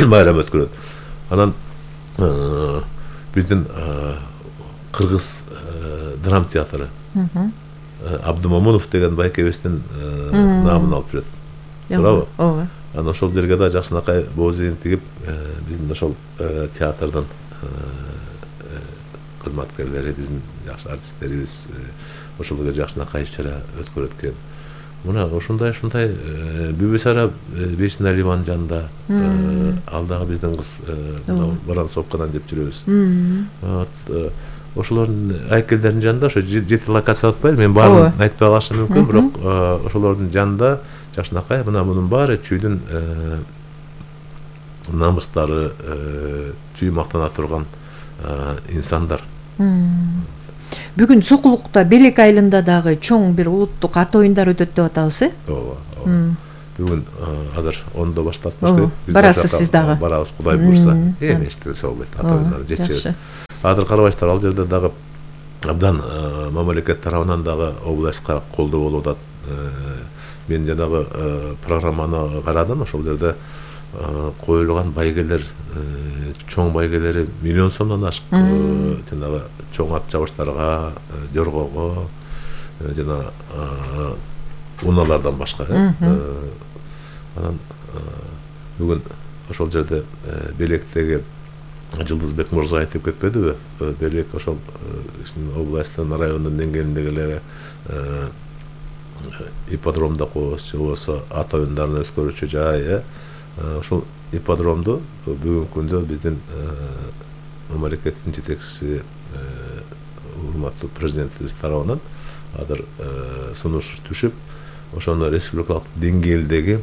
байрам өткөрөт. Анан биздин Кыргыз драм театры Абдымомунов деген байкебиздин намын алып жүрөт. Туурабы? Ооба. Анан ошол жерге да жакшынакай боозин тигип, биздин ошол театрдын кызматкерлери, биздин жакшы артисттерибиз ошол жерге жакшынакай иш-чара өткөрөт экен. Мына ушундай Бүбүсара Бейшиналиеванын жанында ал дагы биздин кыз Воронцовкадан деп жүрөбүз. Ошолордун айкелдеринин жанында ошо 7 локация атпайбы, мен баарын айтпай калышым мүмкүн, бирок ошолордун жанында жакшынакай мына мунун баары чүйдүн намыстары чүй мактана турган инсандар. Бүгүн Сокулукта Белек айылында дагы чоң бир улуттук ат оюндар өтөт деп атабыз, Ооба. Бүгүн азыр 10-до башталатпыз керек. Барасыз сиз дагы. Барабыз, Кудай буйрса. Эми эчтеси болбойт, ат оюндары жетишет. Азыр карабайсыздар, ал жерде дагы абдан мамлекет тарабынан дагы областка колдоо болуп атат. Мен жанагы программаны карадым, ошол жерде коюлган байгелер, чоң байгелери миллион сомдон ашык. Жанагы чоң ат чабыштарга, жоргого, жана унаалардан башка. Анан бүгүн ошол жерде Белектеги Жылдызбек мырза айтып кетпедиби? Белек ошол областтын, райондун деңгээлиндеги эле ипподромдо коебуз, же болбосо ат оюндарын өткөрүүчү жай. Ошол ипподромду бүгүнкү күндө биздин мамлекеттин жетекчиси урматтуу президентибиз тарабынан азыр сунуш түшүп, ошону республикалык деңгээлдеги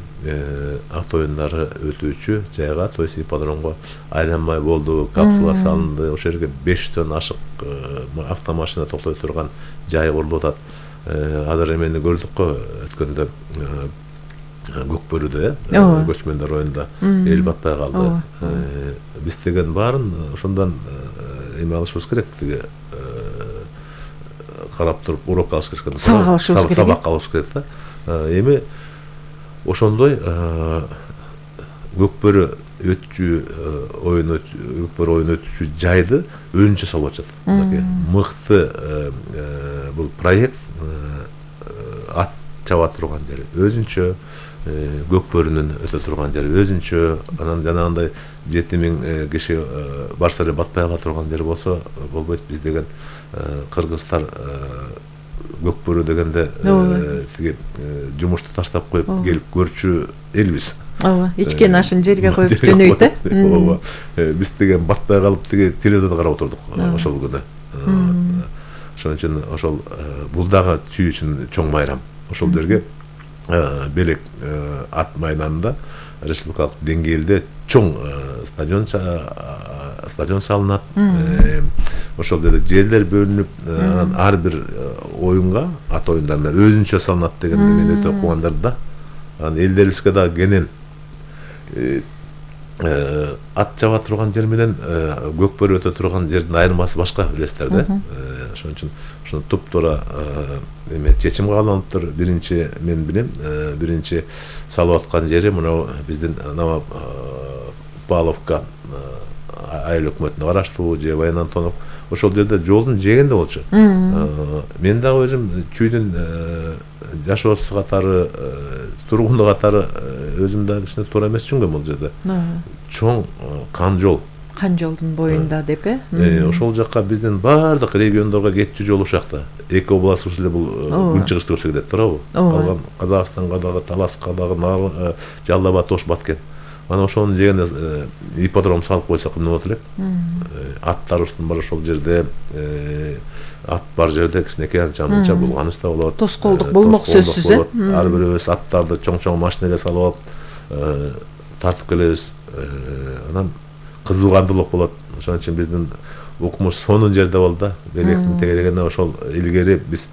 ат оюндары өтүүчү жайга, то есть ипподромго айланмай болду, капсула салынды. Ошол жерге 500 ашык автомашина токтой турган жай курулуп атат. Азыр эмени көрдүк го өткөндө Көкбөрүдө, көчмөндөр районунда эл батпай калды. Биз деген баарын ошондон эме алышыбыз керек, тиги карап туруп урок алыш керек. Сабак алыш керек да. Эми ошондой Көкбөрү oyun ötücü жайды өзүнчө салып атышат. Мыкты бул проект ат чаба турган жери өзүнчө, Көкбөрүнүн өтө турган жери өзүнчө, анан жанагындай 7000 киши барса эле батпай кала турган жери болсо болбойт. Биз деген кыргыздар Көкбөрү дегенде тиги жумушту таштап коюп келип көрчү элбиз. Ооба, ичкен ашын жерге коюп жөнөйт. Ооба. Биз деген батпай калып тиги теледон карап отурдук ошол күнү. Ошон үчүн ошол бул дагы чүй үчүн чоң майрам. Ошол жерге Белек ат майданында республикалык деңгээлде чоң стадион салынат. Ошол жерде жерлер бөлүнүп, ар бир оюнга, ат оюндарына өзүнчө салынат деген мен өтө кубандар да. Анан элдерибизге да кенен ат чаба турган жер менен Көкбөрү өтө турган жердин айырмасы башка, билесиздер да. Ошон үчүн ушуну туп-туура эме чечим кабыл алыныптыр. Биринчи мен билем, биринчи салып аткан жери мына биздин Павловка айыл өкмөтүнө караштуу же Баян Антонов. Ошол жерде жолдун жээгинде болчу. Мен дагы өзүм чүйдүн жашоосу катары, тургуну катары өзүм дагы кичине туура эмес түшүнгөм бул жерде. Чоң кан жол. Кан жолдун боюнда деп ошол жакка биздин баардык региондорго кетчү жол ушакта. Эки областыбыз эле бул күнчыгышты көрсө кетет, туурабы? Калган Казакстанга дагы, Таласка дагы, Жалал Абад, Ош, Баткен. Ана ошонун жегине ипподром салып койсок эмне болот элек? Аттарыбыздын бар ошол жерде, ат бар жерде кичинекей анча-мынча булганыч да болот. Тоскоолдук болмок сөзсүз. Ар бирибиз аттарды чоң-чоң машинеге салып алып тартып келебиз. Анан кызуугандуулук болот. Ошон үчүн биздин укмуш сонун жерде болду да. Белектин тегерегине ошол илгери биз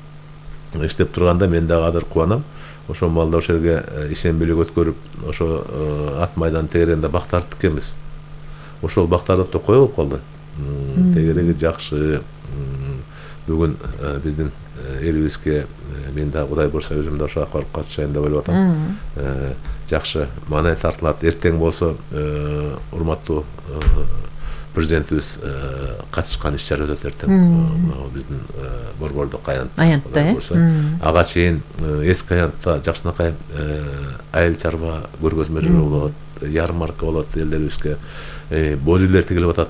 иштеп турганда мен дагы азыр кубанам. Ошол маалда ошол жерге ишенбелик өткөрүп, ошо ат майдан тегерегинде бак тарттык экенбиз. Ошол бактарды токой болуп калды. Тегереги жакшы. Бүгүн биздин элибизге мен дагы Кудай буйрса өзүм да ошого барып катышайын деп ойлоп атам. Жакшы маанай тартылат. Эртең болсо урматтуу президентибиз катышкан иш-чара өтөт эртең. Биздин борбордук аянтта. Ага чейин эски аянтта Жакшынакай айыл чарба көргөзмөлөр болот, ярмарка болот элдерибизге. Боз үйлер тигилип атат.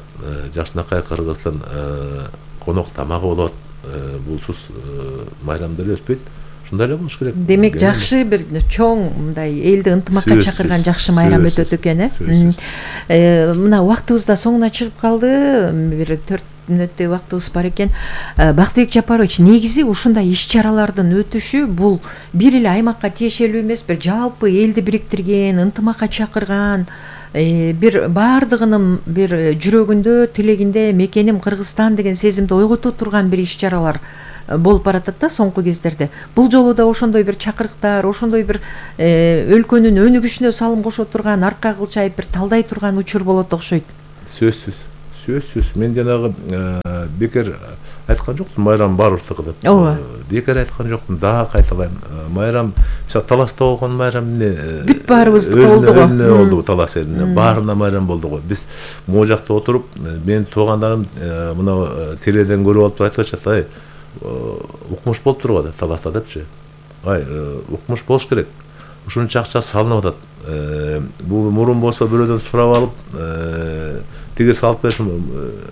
Жакшынакай кыргыздын конок тамагы болот. Булсуз майрамдар өтпөйт. Ушундай эле болуш керек. Демек жакшы бир чоң мындай элди ынтымакка чакырган жакшы майрам өтөт экен, Мына убактыбыз да соңуна чыгып калды. Бир 4 мүнөттөй убактыбыз бар экен. Бактыбек Жапарович, негизи ушундай иш-чаралардын өтүшү бул бир эле аймакка тиешелүү эмес, бир жалпы элди бириктирген, ынтымакка чакырган бир баардыгынын бир жүрөгүндө, тилегинде мекеним Кыргызстан деген сезимди ойгото турган бир иш-чаралар болуп баратат да соңку кездерде. Бул жолу да ошондой бир чакырыктар, ошондой бир өлкөнүн өнүгүшүнө салым кошо турган, артка кылчайып бир талдай турган учур болот окшойт. Сөзсүз. Мен жанагы бекер айткан жоктум, майрам баарыбыздыкы деп. Ооба. Бекер айткан жоктум, дагы кайталайм. Майрам, мисалы Таласта болгон майрам эмне? Бүт баарыбыздыкы болду го. Болду Талас элине. Баарына майрам болду го. Биз могу жакта отуруп, менин туугандарым мына теледен көрүп алып айтып атышат, ай, укмуш болуп турбу деп Таласта депчи. Ай, укмуш болуш керек. Ушунча акча салынып атат. Бул мурун болсо бирөөдөн сурап алып, тиги салып беришим,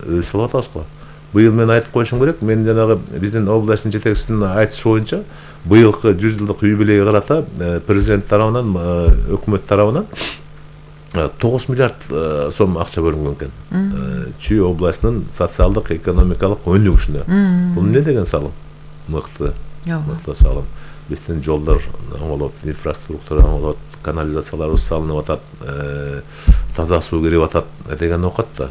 өзү салып атабыз го. Быйыл мен айтып коюшум керек, мен жанагы биздин областтын жетекчисинин айтышы боюнча быйылкы 100 жылдык юбилейге карата президент тарабынан, өкмөт тарабынан 9 миллиард сом акча бөлүнгөн экен. Чүй областынын социалдык, экономикалык өнүгүшүнө. Бул эмне деген салым? Мыкты салым. Биздин жолдор оңолот, инфраструктура оңолот, канализацияларыбыз салынып атат, таза суу кирип атат деген окат да.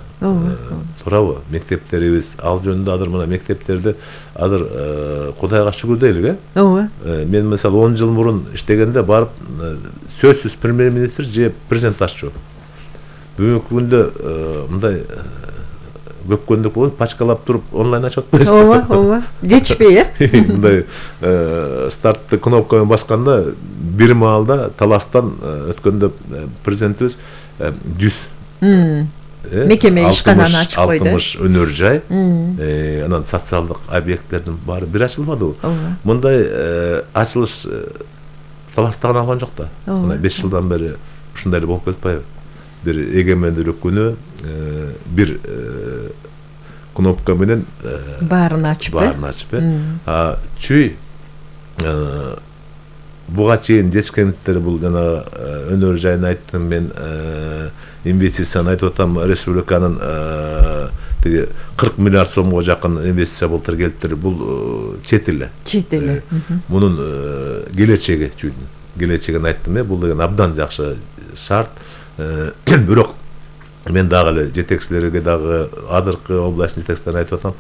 Туурабы? Мектептерибиз ал жөнүндө азыр мына мектептерди азыр Кудайга шүгүр дейлик, Ооба. Мен мисалы 10 жыл мурун иштегенде барып сөзсүз премьер-министр же президент аччу. Бүгүнкү күндө мындай көпкөндүк болуп пачкалап туруп онлайн ачып атпайсыз. Ооба. Жетишпей, Мындай стартты кнопканы басканда бир маалда Таластан өткөндө президентибиз 100 мекеме ишкананы ачып койду. 60 өнөр жай, анан социалдык объекттердин баары бир ачылбадыбы? Мындай ачылыш Таластан алган жок да. Мына 5 жылдан бери ушундай эле болуп келатпайбы? Бир эгемендүүлүк күнү бир кнопка менен баарын ачып, чүй буга чейин жетишкендиктер бул жана өнөр жайын айттым мен, инвестицияны айтып атам, республиканын тиги 40 миллиард сомго жакын инвестиция былтыр келиптир. Бул чет эле. Мунун келечеги чүйдүн. Келечегин айттым, бул деген абдан жакшы шарт. Бирок мен дагы эле жетекчилерге дагы азыркы областтын жетекчилерине айтып атам,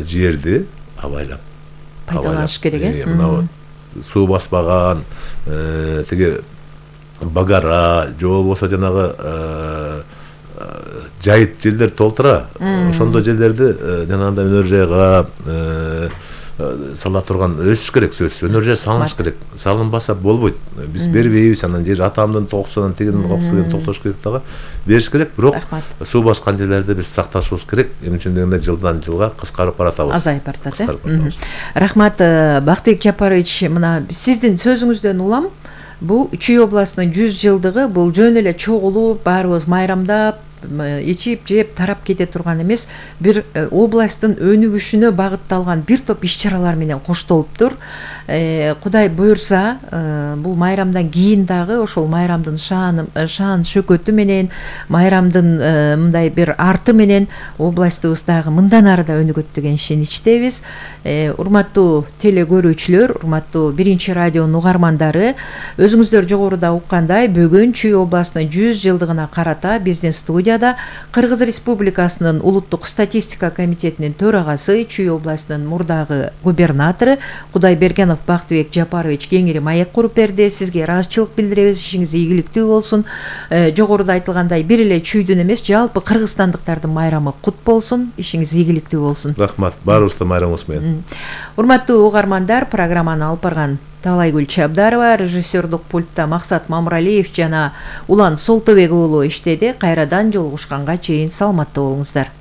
жерди абайлап пайдаланыш керек. Мына суу баспаган, тиги багара, же болбосо жанагы жайыт жерлер толтура. Ошондой жерлерди жанагындай өнөр жайга сала турган өсүш керек, сөзсүз. Өнөр жай салыныш керек. Салынбаса болбойт. Биз бербейбиз, анан жер атамдын токусунан тигинин токусунан токтош керек дагы. Бериш керек, бирок суу баскан жерлерди биз сакташыбыз керек. Эмне үчүн дегенде жылдан жылга кыскарып баратабыз. Азайып баратат. Рахмат, Бактыбек Жапарович, мына сиздин сөзүңүздөн улам, бул Чүй областынын 100 жылдыгы бул жөн эле чогулуп, баарыбыз майрамдап, ичип, жеп, тарап кете турган эмес, бир областтын өнүгүшүнө багытталган бир топ иш-чаралар менен коштолуптур. Кудай буйрса, бул майрамдан кийин дагы ошол майрамдын шаан шөкөтү менен, майрамдын мындай бир арты менен областыбыз дагы мындан ары да өнүгөт деген ишеничтебиз. Урматтуу теле көрүүчүлөр, урматтуу Биринчи радионун угармандары, өзүңүздөр жогоруда уккандай, бүгүн Чүй областынын 100 жылдыгына карата биздин студияда Кыргыз Республикасынын улуттук статистика комитетинин төрагасы, Чүй областынын мурдагы губернатору Кудайбергенов Бактыбек Жапарович кеңири маек куруп берди. Сизге ыраазычылык билдиребиз, ишиңиз ийгиликтүү болсун. Жогоруда айтылгандай, бир эле Чүйдүн эмес, жалпы кыргызстандыктардын майрамы кут болсун, ишиңиз ийгиликтүү болсун. Рахмат, баарыбыздын майрамыбыз менен. Урматтуу угармандар, программаны алып барган Талайгүл Чабдарова, режиссердук пультта Максат Мамралиев жана Улан Солтобек уулу иштеди. Кайрадан жолугушканга чейин саламатта болуңуздар.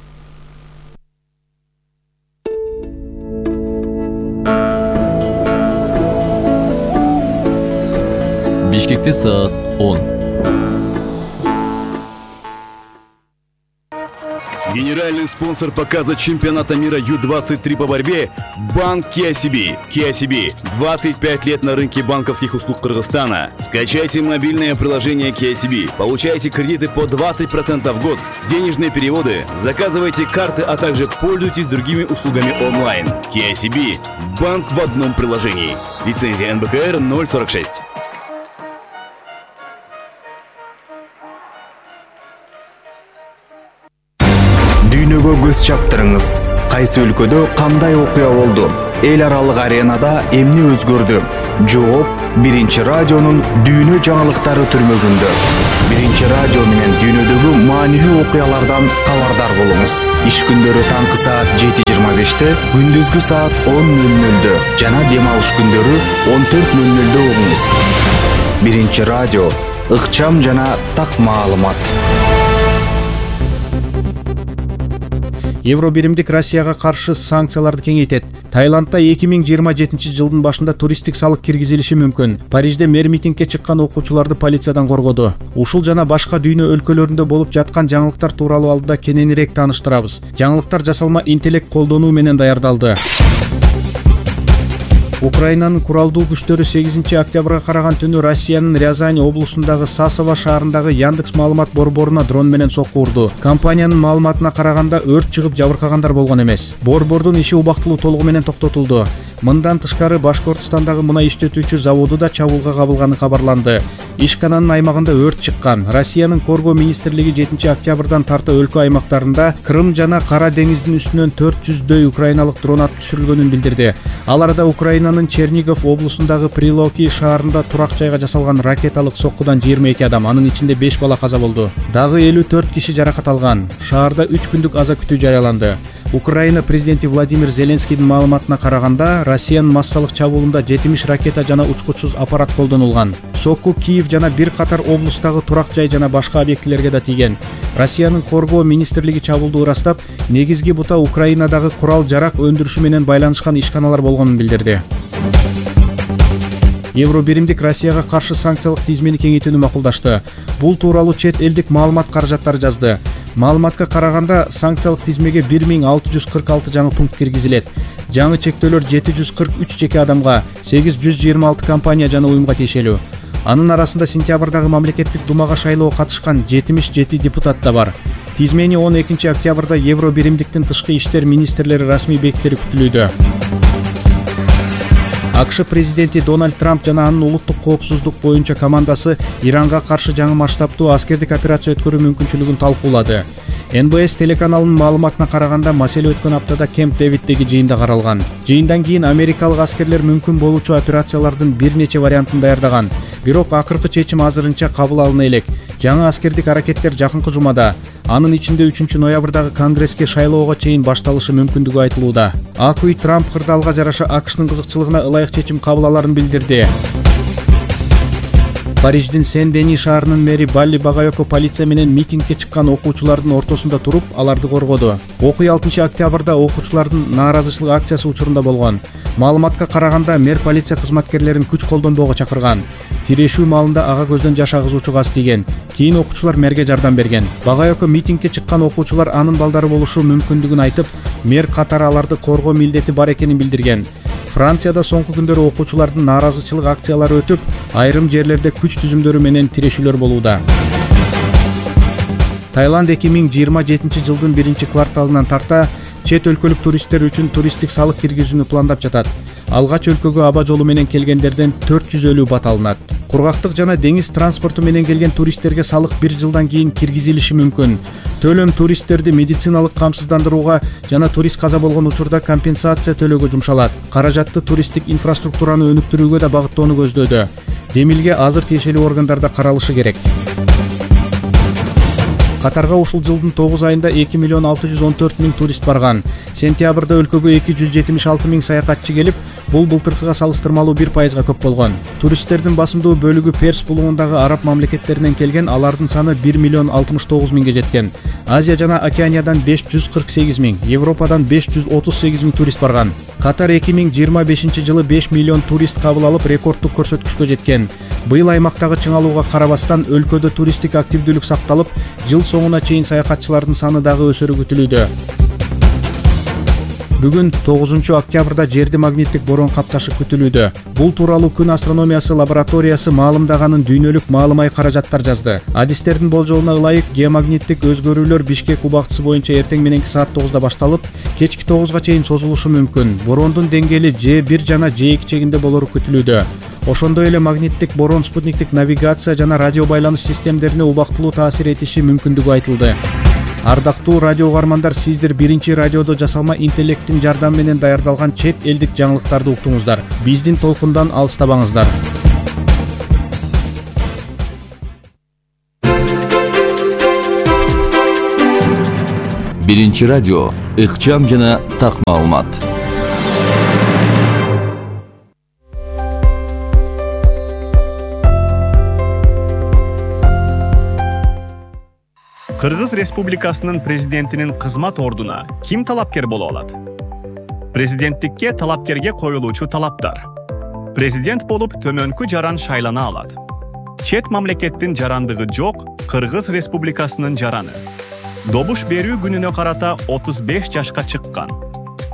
Бишкекте саат 10. Генеральный спонсор показа чемпионата мира Ю-23 по борьбе – Банк KCB. KCB – 25 лет на рынке банковских услуг Кыргызстана. Скачайте мобильное приложение KCB, получайте кредиты по 20% в год, денежные переводы, заказывайте карты, а также пользуйтесь другими услугами онлайн. KCB – банк в одном приложении. Лицензия НБКР 046. күнгө көз чаптырыңыз. Кайсы өлкөдө кандай окуя болду? Эл аралык аренада эмне өзгөрдү? Жооп Биринчи радионун дүйнө жаңылыктары түрмөгүндө. Биринчи радио менен дүйнөдөгү маанилүү окуялардан кабардар болуңуз. Иш күндөрү таңкы саат 7:25, күндүзгү саат 10:00 жана дем алыш күндөрү 14:00 угуңуз. Биринчи радио, ыкчам жана так маалымат. Евро биримдик Россияга каршы санкцияларды кеңейтет. Таиландда 2027 жылдын башында туристтик салык киргизилиши мүмкүн. Парижде мэр митингге чыккан окуучуларды полициядан коргоду. Ушул жана башка дүйнө өлкөлөрүндө болуп жаткан жаңылыктар тууралуу алдыда кененирээк тааныштырабыз. Жаңылыктар жасалма интеллект колдонуу менен даярдалды. Украинанын куралдуу күчтөрү 8 октябрга караган түнү Россиянын Рязань облусундагы Сасово шаарындагы Яндекс маалымат борборуна дрон менен сокку урду. Компаниянын маалыматына караганда өрт чыгып жабыркагандар болгон эмес. Борбордун иши убактылуу толугу менен токтотулду. Мындан тышкары Башкортостандагы мунай иштетүүчү заводу да чабуулга кабылганы кабарланды. Ишкананын аймагында өрт чыккан. Россиянын Коргоо министрлиги 7 октябрдан тарта өлкө аймактарында Крым жана Кара деңиздин үстүнөн 400дөй украиналык дрон атып түшүрүлгөнүн билдирди. Аларда Украинанын Чернигов облусундагы Прилоки шаарында турак жайга жасалган ракеталык соккудан 22 адам, анын ичинде 5 бала каза болду. Дагы 54 киши жаракат алган. Шаарда 3 күндүк аза күтүү жарыяланды. Украина президенти Владимир Зеленскийдин маалыматына караганда, Россиянын массалык чабуулунда 70 ракета жана учкучсуз аппарат колдонулган. Сокку Киев жана бир катар облустагы турак жай жана башка объектилерге да тийген. Россиянын Коргоо министрлиги чабуулду ырастап, негизги бута Украинадагы курал-жарак өндүрүшү менен байланышкан ишканалар болгонун билдирди. Евро биримдик Россияга каршы санкциялык тизмени кеңейтүүнү макулдашты. Бул тууралуу чет элдик маалымат каражаттары жазды. Маалыматка караганда, санкциялык тизмеге 1646 жаңы пункт киргизилет. Жаңы чектөөлөр 743 жеке адамга, 826 компания жана уюмга тиешелүү. Анын арасында сентябрдагы мамлекеттик думага шайлоого катышкан 77 депутат да бар. Тизмени 12 октябрда Евро биримдиктин тышкы иштер министрлери расмий бекитери күтүлүүдө. АКШ президенти Дональд Трамп жана анын улуттук коопсуздук боюнча командасы Иранга каршы жаңы масштабтуу аскердик операция өткөрүү мүмкүнчүлүгүн талкуулады. НБС телеканалынын маалыматына караганда, маселе өткөн аптада Кемп Дэвиддеги жыйында каралган. Жыйындан кийин америкалык аскерлер мүмкүн болуучу операциялардын бир нече вариантын даярдаган. Бирок акыркы чечим азырынча кабыл алына элек. Жаңы аскердик аракеттер жакынкы жумада, анын ичинде 3 ноябрдагы Конгресске шайлоого чейин башталышы мүмкүндүгү айтылууда. Ак үй Трамп кырдаалга жараша АКШнын кызыкчылыгына ылайык чечим кабыл аларын билдирди. Париждин Сен-Дени шаарынын мэри Балли Багайоко полиция менен митингге чыккан окуучулардын ортосунда туруп, аларды коргоду. Окуя 6 октябрда окуучулардын нааразычылык акциясы учурунда болгон. Маалыматка караганда, мэр полиция кызматкерлерин күч колдонбоого чакырган. Тирешүү маалында ага көздөн жаш агызуучу газ тийген. Кийин окуучулар мэрге жардам берген. Багайоко митингге чыккан окуучулар анын балдары болушу мүмкүндүгүн айтып, мэр катары аларды коргоо милдети бар экенин билдирген. Францияда соңку күндөрү окуучулардын нааразычылык акциялары өтүп, айрым жерлерде күч түзүмдөрү менен тирешүүлөр болууда. Таиланд 2027 жылдын 1-кварталынан тарта чет өлкөлүк туристтер үчүн туристтик салык киргизүүнү пландап жатат. Алгач өлкөгө аба жолу менен келгендерден 450 бат алынат. Кургактык жана деңиз транспорту менен келген туристтерге салык 1 жылдан кийин киргизилиши мүмкүн. Төлөм туристтерди медициналык камсыздандырууга жана турист каза болгон учурда компенсация төлөөгө жумшалат. Каражатты туристтик инфраструктураны өнүктүрүүгө да багыттоону көздөөдө. Демилге азыр тиешелүү органдарда каралышы керек. Катарга ушул жылдын 9 айында 2.614.000 турист барган. Сентябрда өлкөгө 276.000 саякатчы келип, бул былтыркыга салыштырмалуу 1%га көп болгон. Туристтердин басымдуу бөлүгү Перс булугундагы араб мамлекеттеринен келген, алардын саны 1.069.000 жеткен. Азия жана Океаниядан 548.000, Европадан 538.000 турист барган. Катар 2025 жылы 5 миллион турист кабыл алып, рекордтук көрсөткүчкө жеткен. Быйыл аймактагы чыңалууга карабастан өлкөдө туристтик активдүүлүк сакталып, жыл соңуна чейин саякатчылардын саны дагы өсөрү күтүлүүдө. Бүгүн 9 октябрда жерди магниттик борон капташы күтүлүүдө. Бул тууралуу күн астрономиясы лабораториясы маалымдаганын дүйнөлүк маалымай каражаттар жазды. Адистердин болжолуна ылайык, геомагниттик өзгөрүүлөр Бишкек убактысы боюнча эртең мененки саат 9-да башталып, кечки 9-га чейин созулушу мүмкүн. Борондун деңгээли Ж1 жана Ж2 чегинде болору күтүлүүдө. Ошондой эле магниттик борон спутниктик навигация жана радио байланыш системдерине убактылуу таасир этиши мүмкүндүгү айтылды. Ардактуу радио угармандар, сиздер биринчи радиодо жасалма интеллекттин жардамы менен даярдалган чет элдик жаңылыктарды уктуңуздар. Биздин толкундан алыстабаңыздар. Биринчи радио, ыкчам жана так маалымат. Кыргыз Республикасынын президентинин кызмат ордуна ким талапкер боло алат? Президенттикке талапкерге коюлуучу талаптар. Президент болуп төмөнкү жаран шайлана алат. Чет мамлекеттин жарандыгы жок Кыргыз Республикасынын жараны. Добуш берүү күнүнө карата 35 жашка чыккан.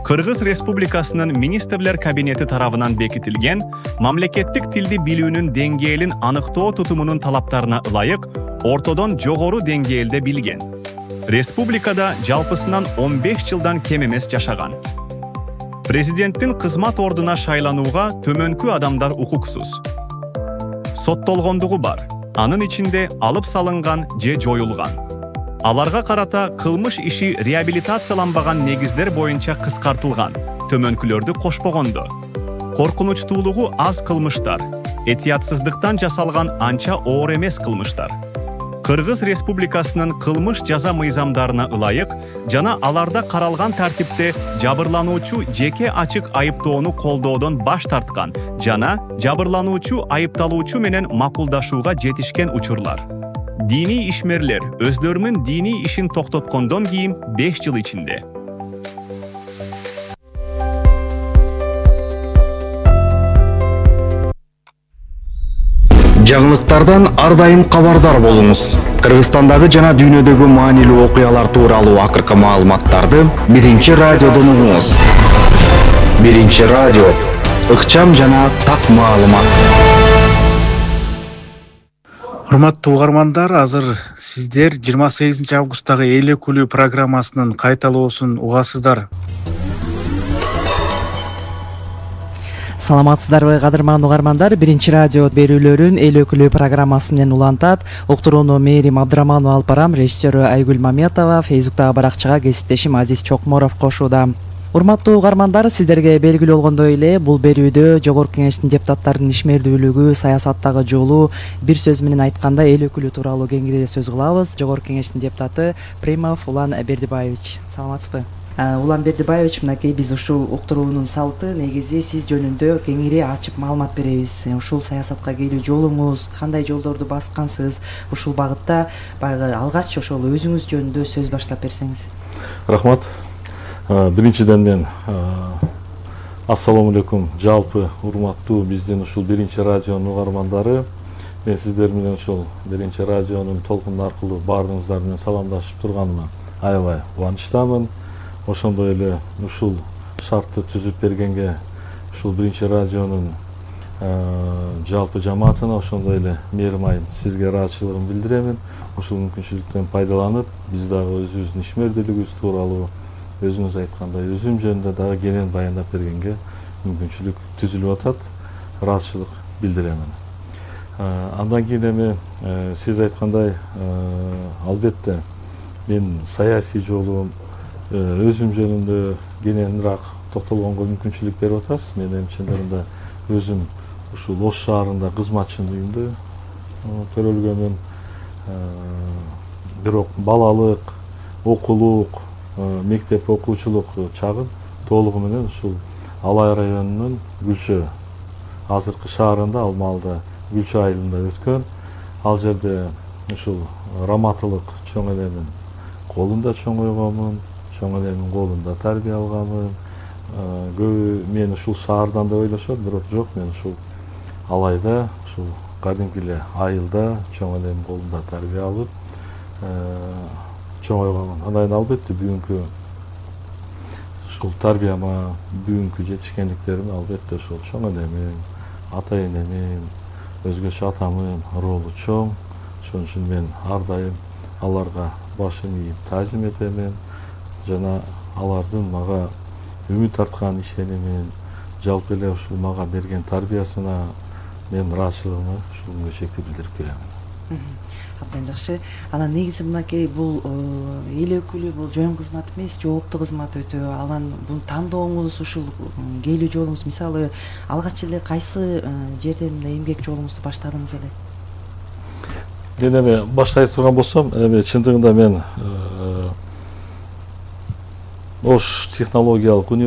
Кыргыз Республикасынын министрлер кабинети тарабынан бекитилген мамлекеттик тилди билүүнүн деңгээлин аныктоо тутумунун талаптарына ылайык ортодон жогору деңгээлде билген. Республикада жалпысынан 15 жылдан кем эмес жашаган. Президенттин кызмат ордуна шайланууга төмөнкү адамдар укуксуз. Соттолгондугу бар, анын ичинде алып салынган же жоюлган. Аларга карата кылмыш иши реабилитацияланбаган негиздер боюнча кыскартылган, төмөнкүлөрдү кошпогондо. Коркунучтуулугу аз кылмыштар, этиятсыздыктан жасалган анча оор эмес кылмыштар. Кыргыз Республикасынын кылмыш жаза мыйзамдарына ылайык жана аларда каралган тартипте жабырлануучу жеке ачык айыптоону колдоодон баш тарткан жана жабырлануучу айыпталуучу менен макулдашууга жетишкен учурлар. Дини ишмерлер өздөрүнүн дини ишин токтоткондон кийин 5 жыл ичинде. Жаңылыктардан ар дайым кабардар болуңуз. Кыргызстандагы жана дүйнөдөгү маанилүү окуялар тууралуу акыркы маалыматтарды биринчи радиодон угуңуз. Биринчи радио, ыкчам жана так маалымат. Урматтуу угармандар, азыр сиздер 28 августтагы эл өкүлү программасынын кайталоосун угасыздар. Саламатсыздарбы, кадырман угармандар? Биринчи радио берүүлөрүн эл өкүлү программасы менен улантат. Уктурууну Мээрим Абдыраманова алып барам, режиссеру Айгүл Маметова, Фейсбуктагы баракчага кесиптешим Азиз Чокморов кошууда. Урматтуу угармандар, сиздерге белгилүү болгондой эле бул берүүдө Жогорку Кеңештин депутаттарынын ишмердүүлүгү, саясаттагы жолу, бир сөз менен айтканда эл өкүлү тууралуу кеңири сөз кылабыз. Жогорку Кеңештин депутаты Примов Улан Бердибаевич. Саламатсызбы? Улан Бердибаевич, мынакей биз ушул уктуруунун салты негизи сиз жөнүндө кеңири ачып маалымат беребиз. Ушул саясатка келүү жолуңуз, кандай жолдорду баскансыз, ушул багытта баягы алгач ошол өзүңүз жөнүндө сөз баштап берсеңиз. Рахмат. Биринчиден мен ассаламу алейкум жалпы урматтуу биздин ушул биринчи радионун угармандары. Мен сиздер менен ушул биринчи радионун толкуну аркылуу баарыңыздар менен саламдашып турганыма аябай кубанычтамын. Ошондой эле ушул шартты түзүп бергенге ушул биринчи радионун жалпы жамаатына, ошондой эле Мээрим айым сизге ыраазычылыгымды билдиремин. Ушул мүмкүнчүлүктөн пайдаланып, биз дагы өзүбүздүн ишмердүүлүгүбүз тууралуу, өзүңүз айткандай өзүм жөнүндө дагы кенен баяндап бергенге мүмкүнчүлүк түзүлүп атат. Ыраазычылык билдиремин. Андан кийин эми сиз айткандай албетте мен саясий жолум, өзүм жөнүндө кененирээк токтолгонго мүмкүнчүлүк берип атасыз. Мен эми чындыгында өзүм ушул Ош шаарында кызматчынын үйүндө төрөлгөнмүн. Бирок балалык, окуулук, мектеп окуучулук чагым толугу менен ушул Алай районунун Гүлчө азыркы шаарында, ал маалда Гүлчө айылында өткөн. Ал жерде ушул раматылык чоң эненин колунда чоңойгонмун, чоң эненин колунда тарбия алганмын. Көбү мен ушул шаардан деп ойлошот, бирок жок, мен ушул Алайда, ушул кадимки эле айылда чоң эненин колунда тарбия алып чоңойгонмун. Андан кийин албетте бүгүнкү ушул тарбияма, бүгүнкү жетишкендиктерим албетте ошол чоң энемин, ата энемин, өзгөчө атамын ролу чоң. Ошон үчүн мен ар дайым аларга башым ийип таазим этемин жана алардын мага үмүт арткан ишенимин, жалпы эле ушул мага берген тарбиясына мен ыраазычылыгымды ушул күнгө чейин билдирип келемин. Абдан жакшы. Анан негизи мынакей бул эл өкүлү, бул жөн кызмат эмес, жооптуу кызмат өтө. Анан бул тандооңуз, ушул келүү жолуңуз, мисалы, алгач эле кайсы жерден эмгек жолуңузду баштадыңыз эле? Мен эми башка турган болсом, эми чындыгында мен Ош технологиялык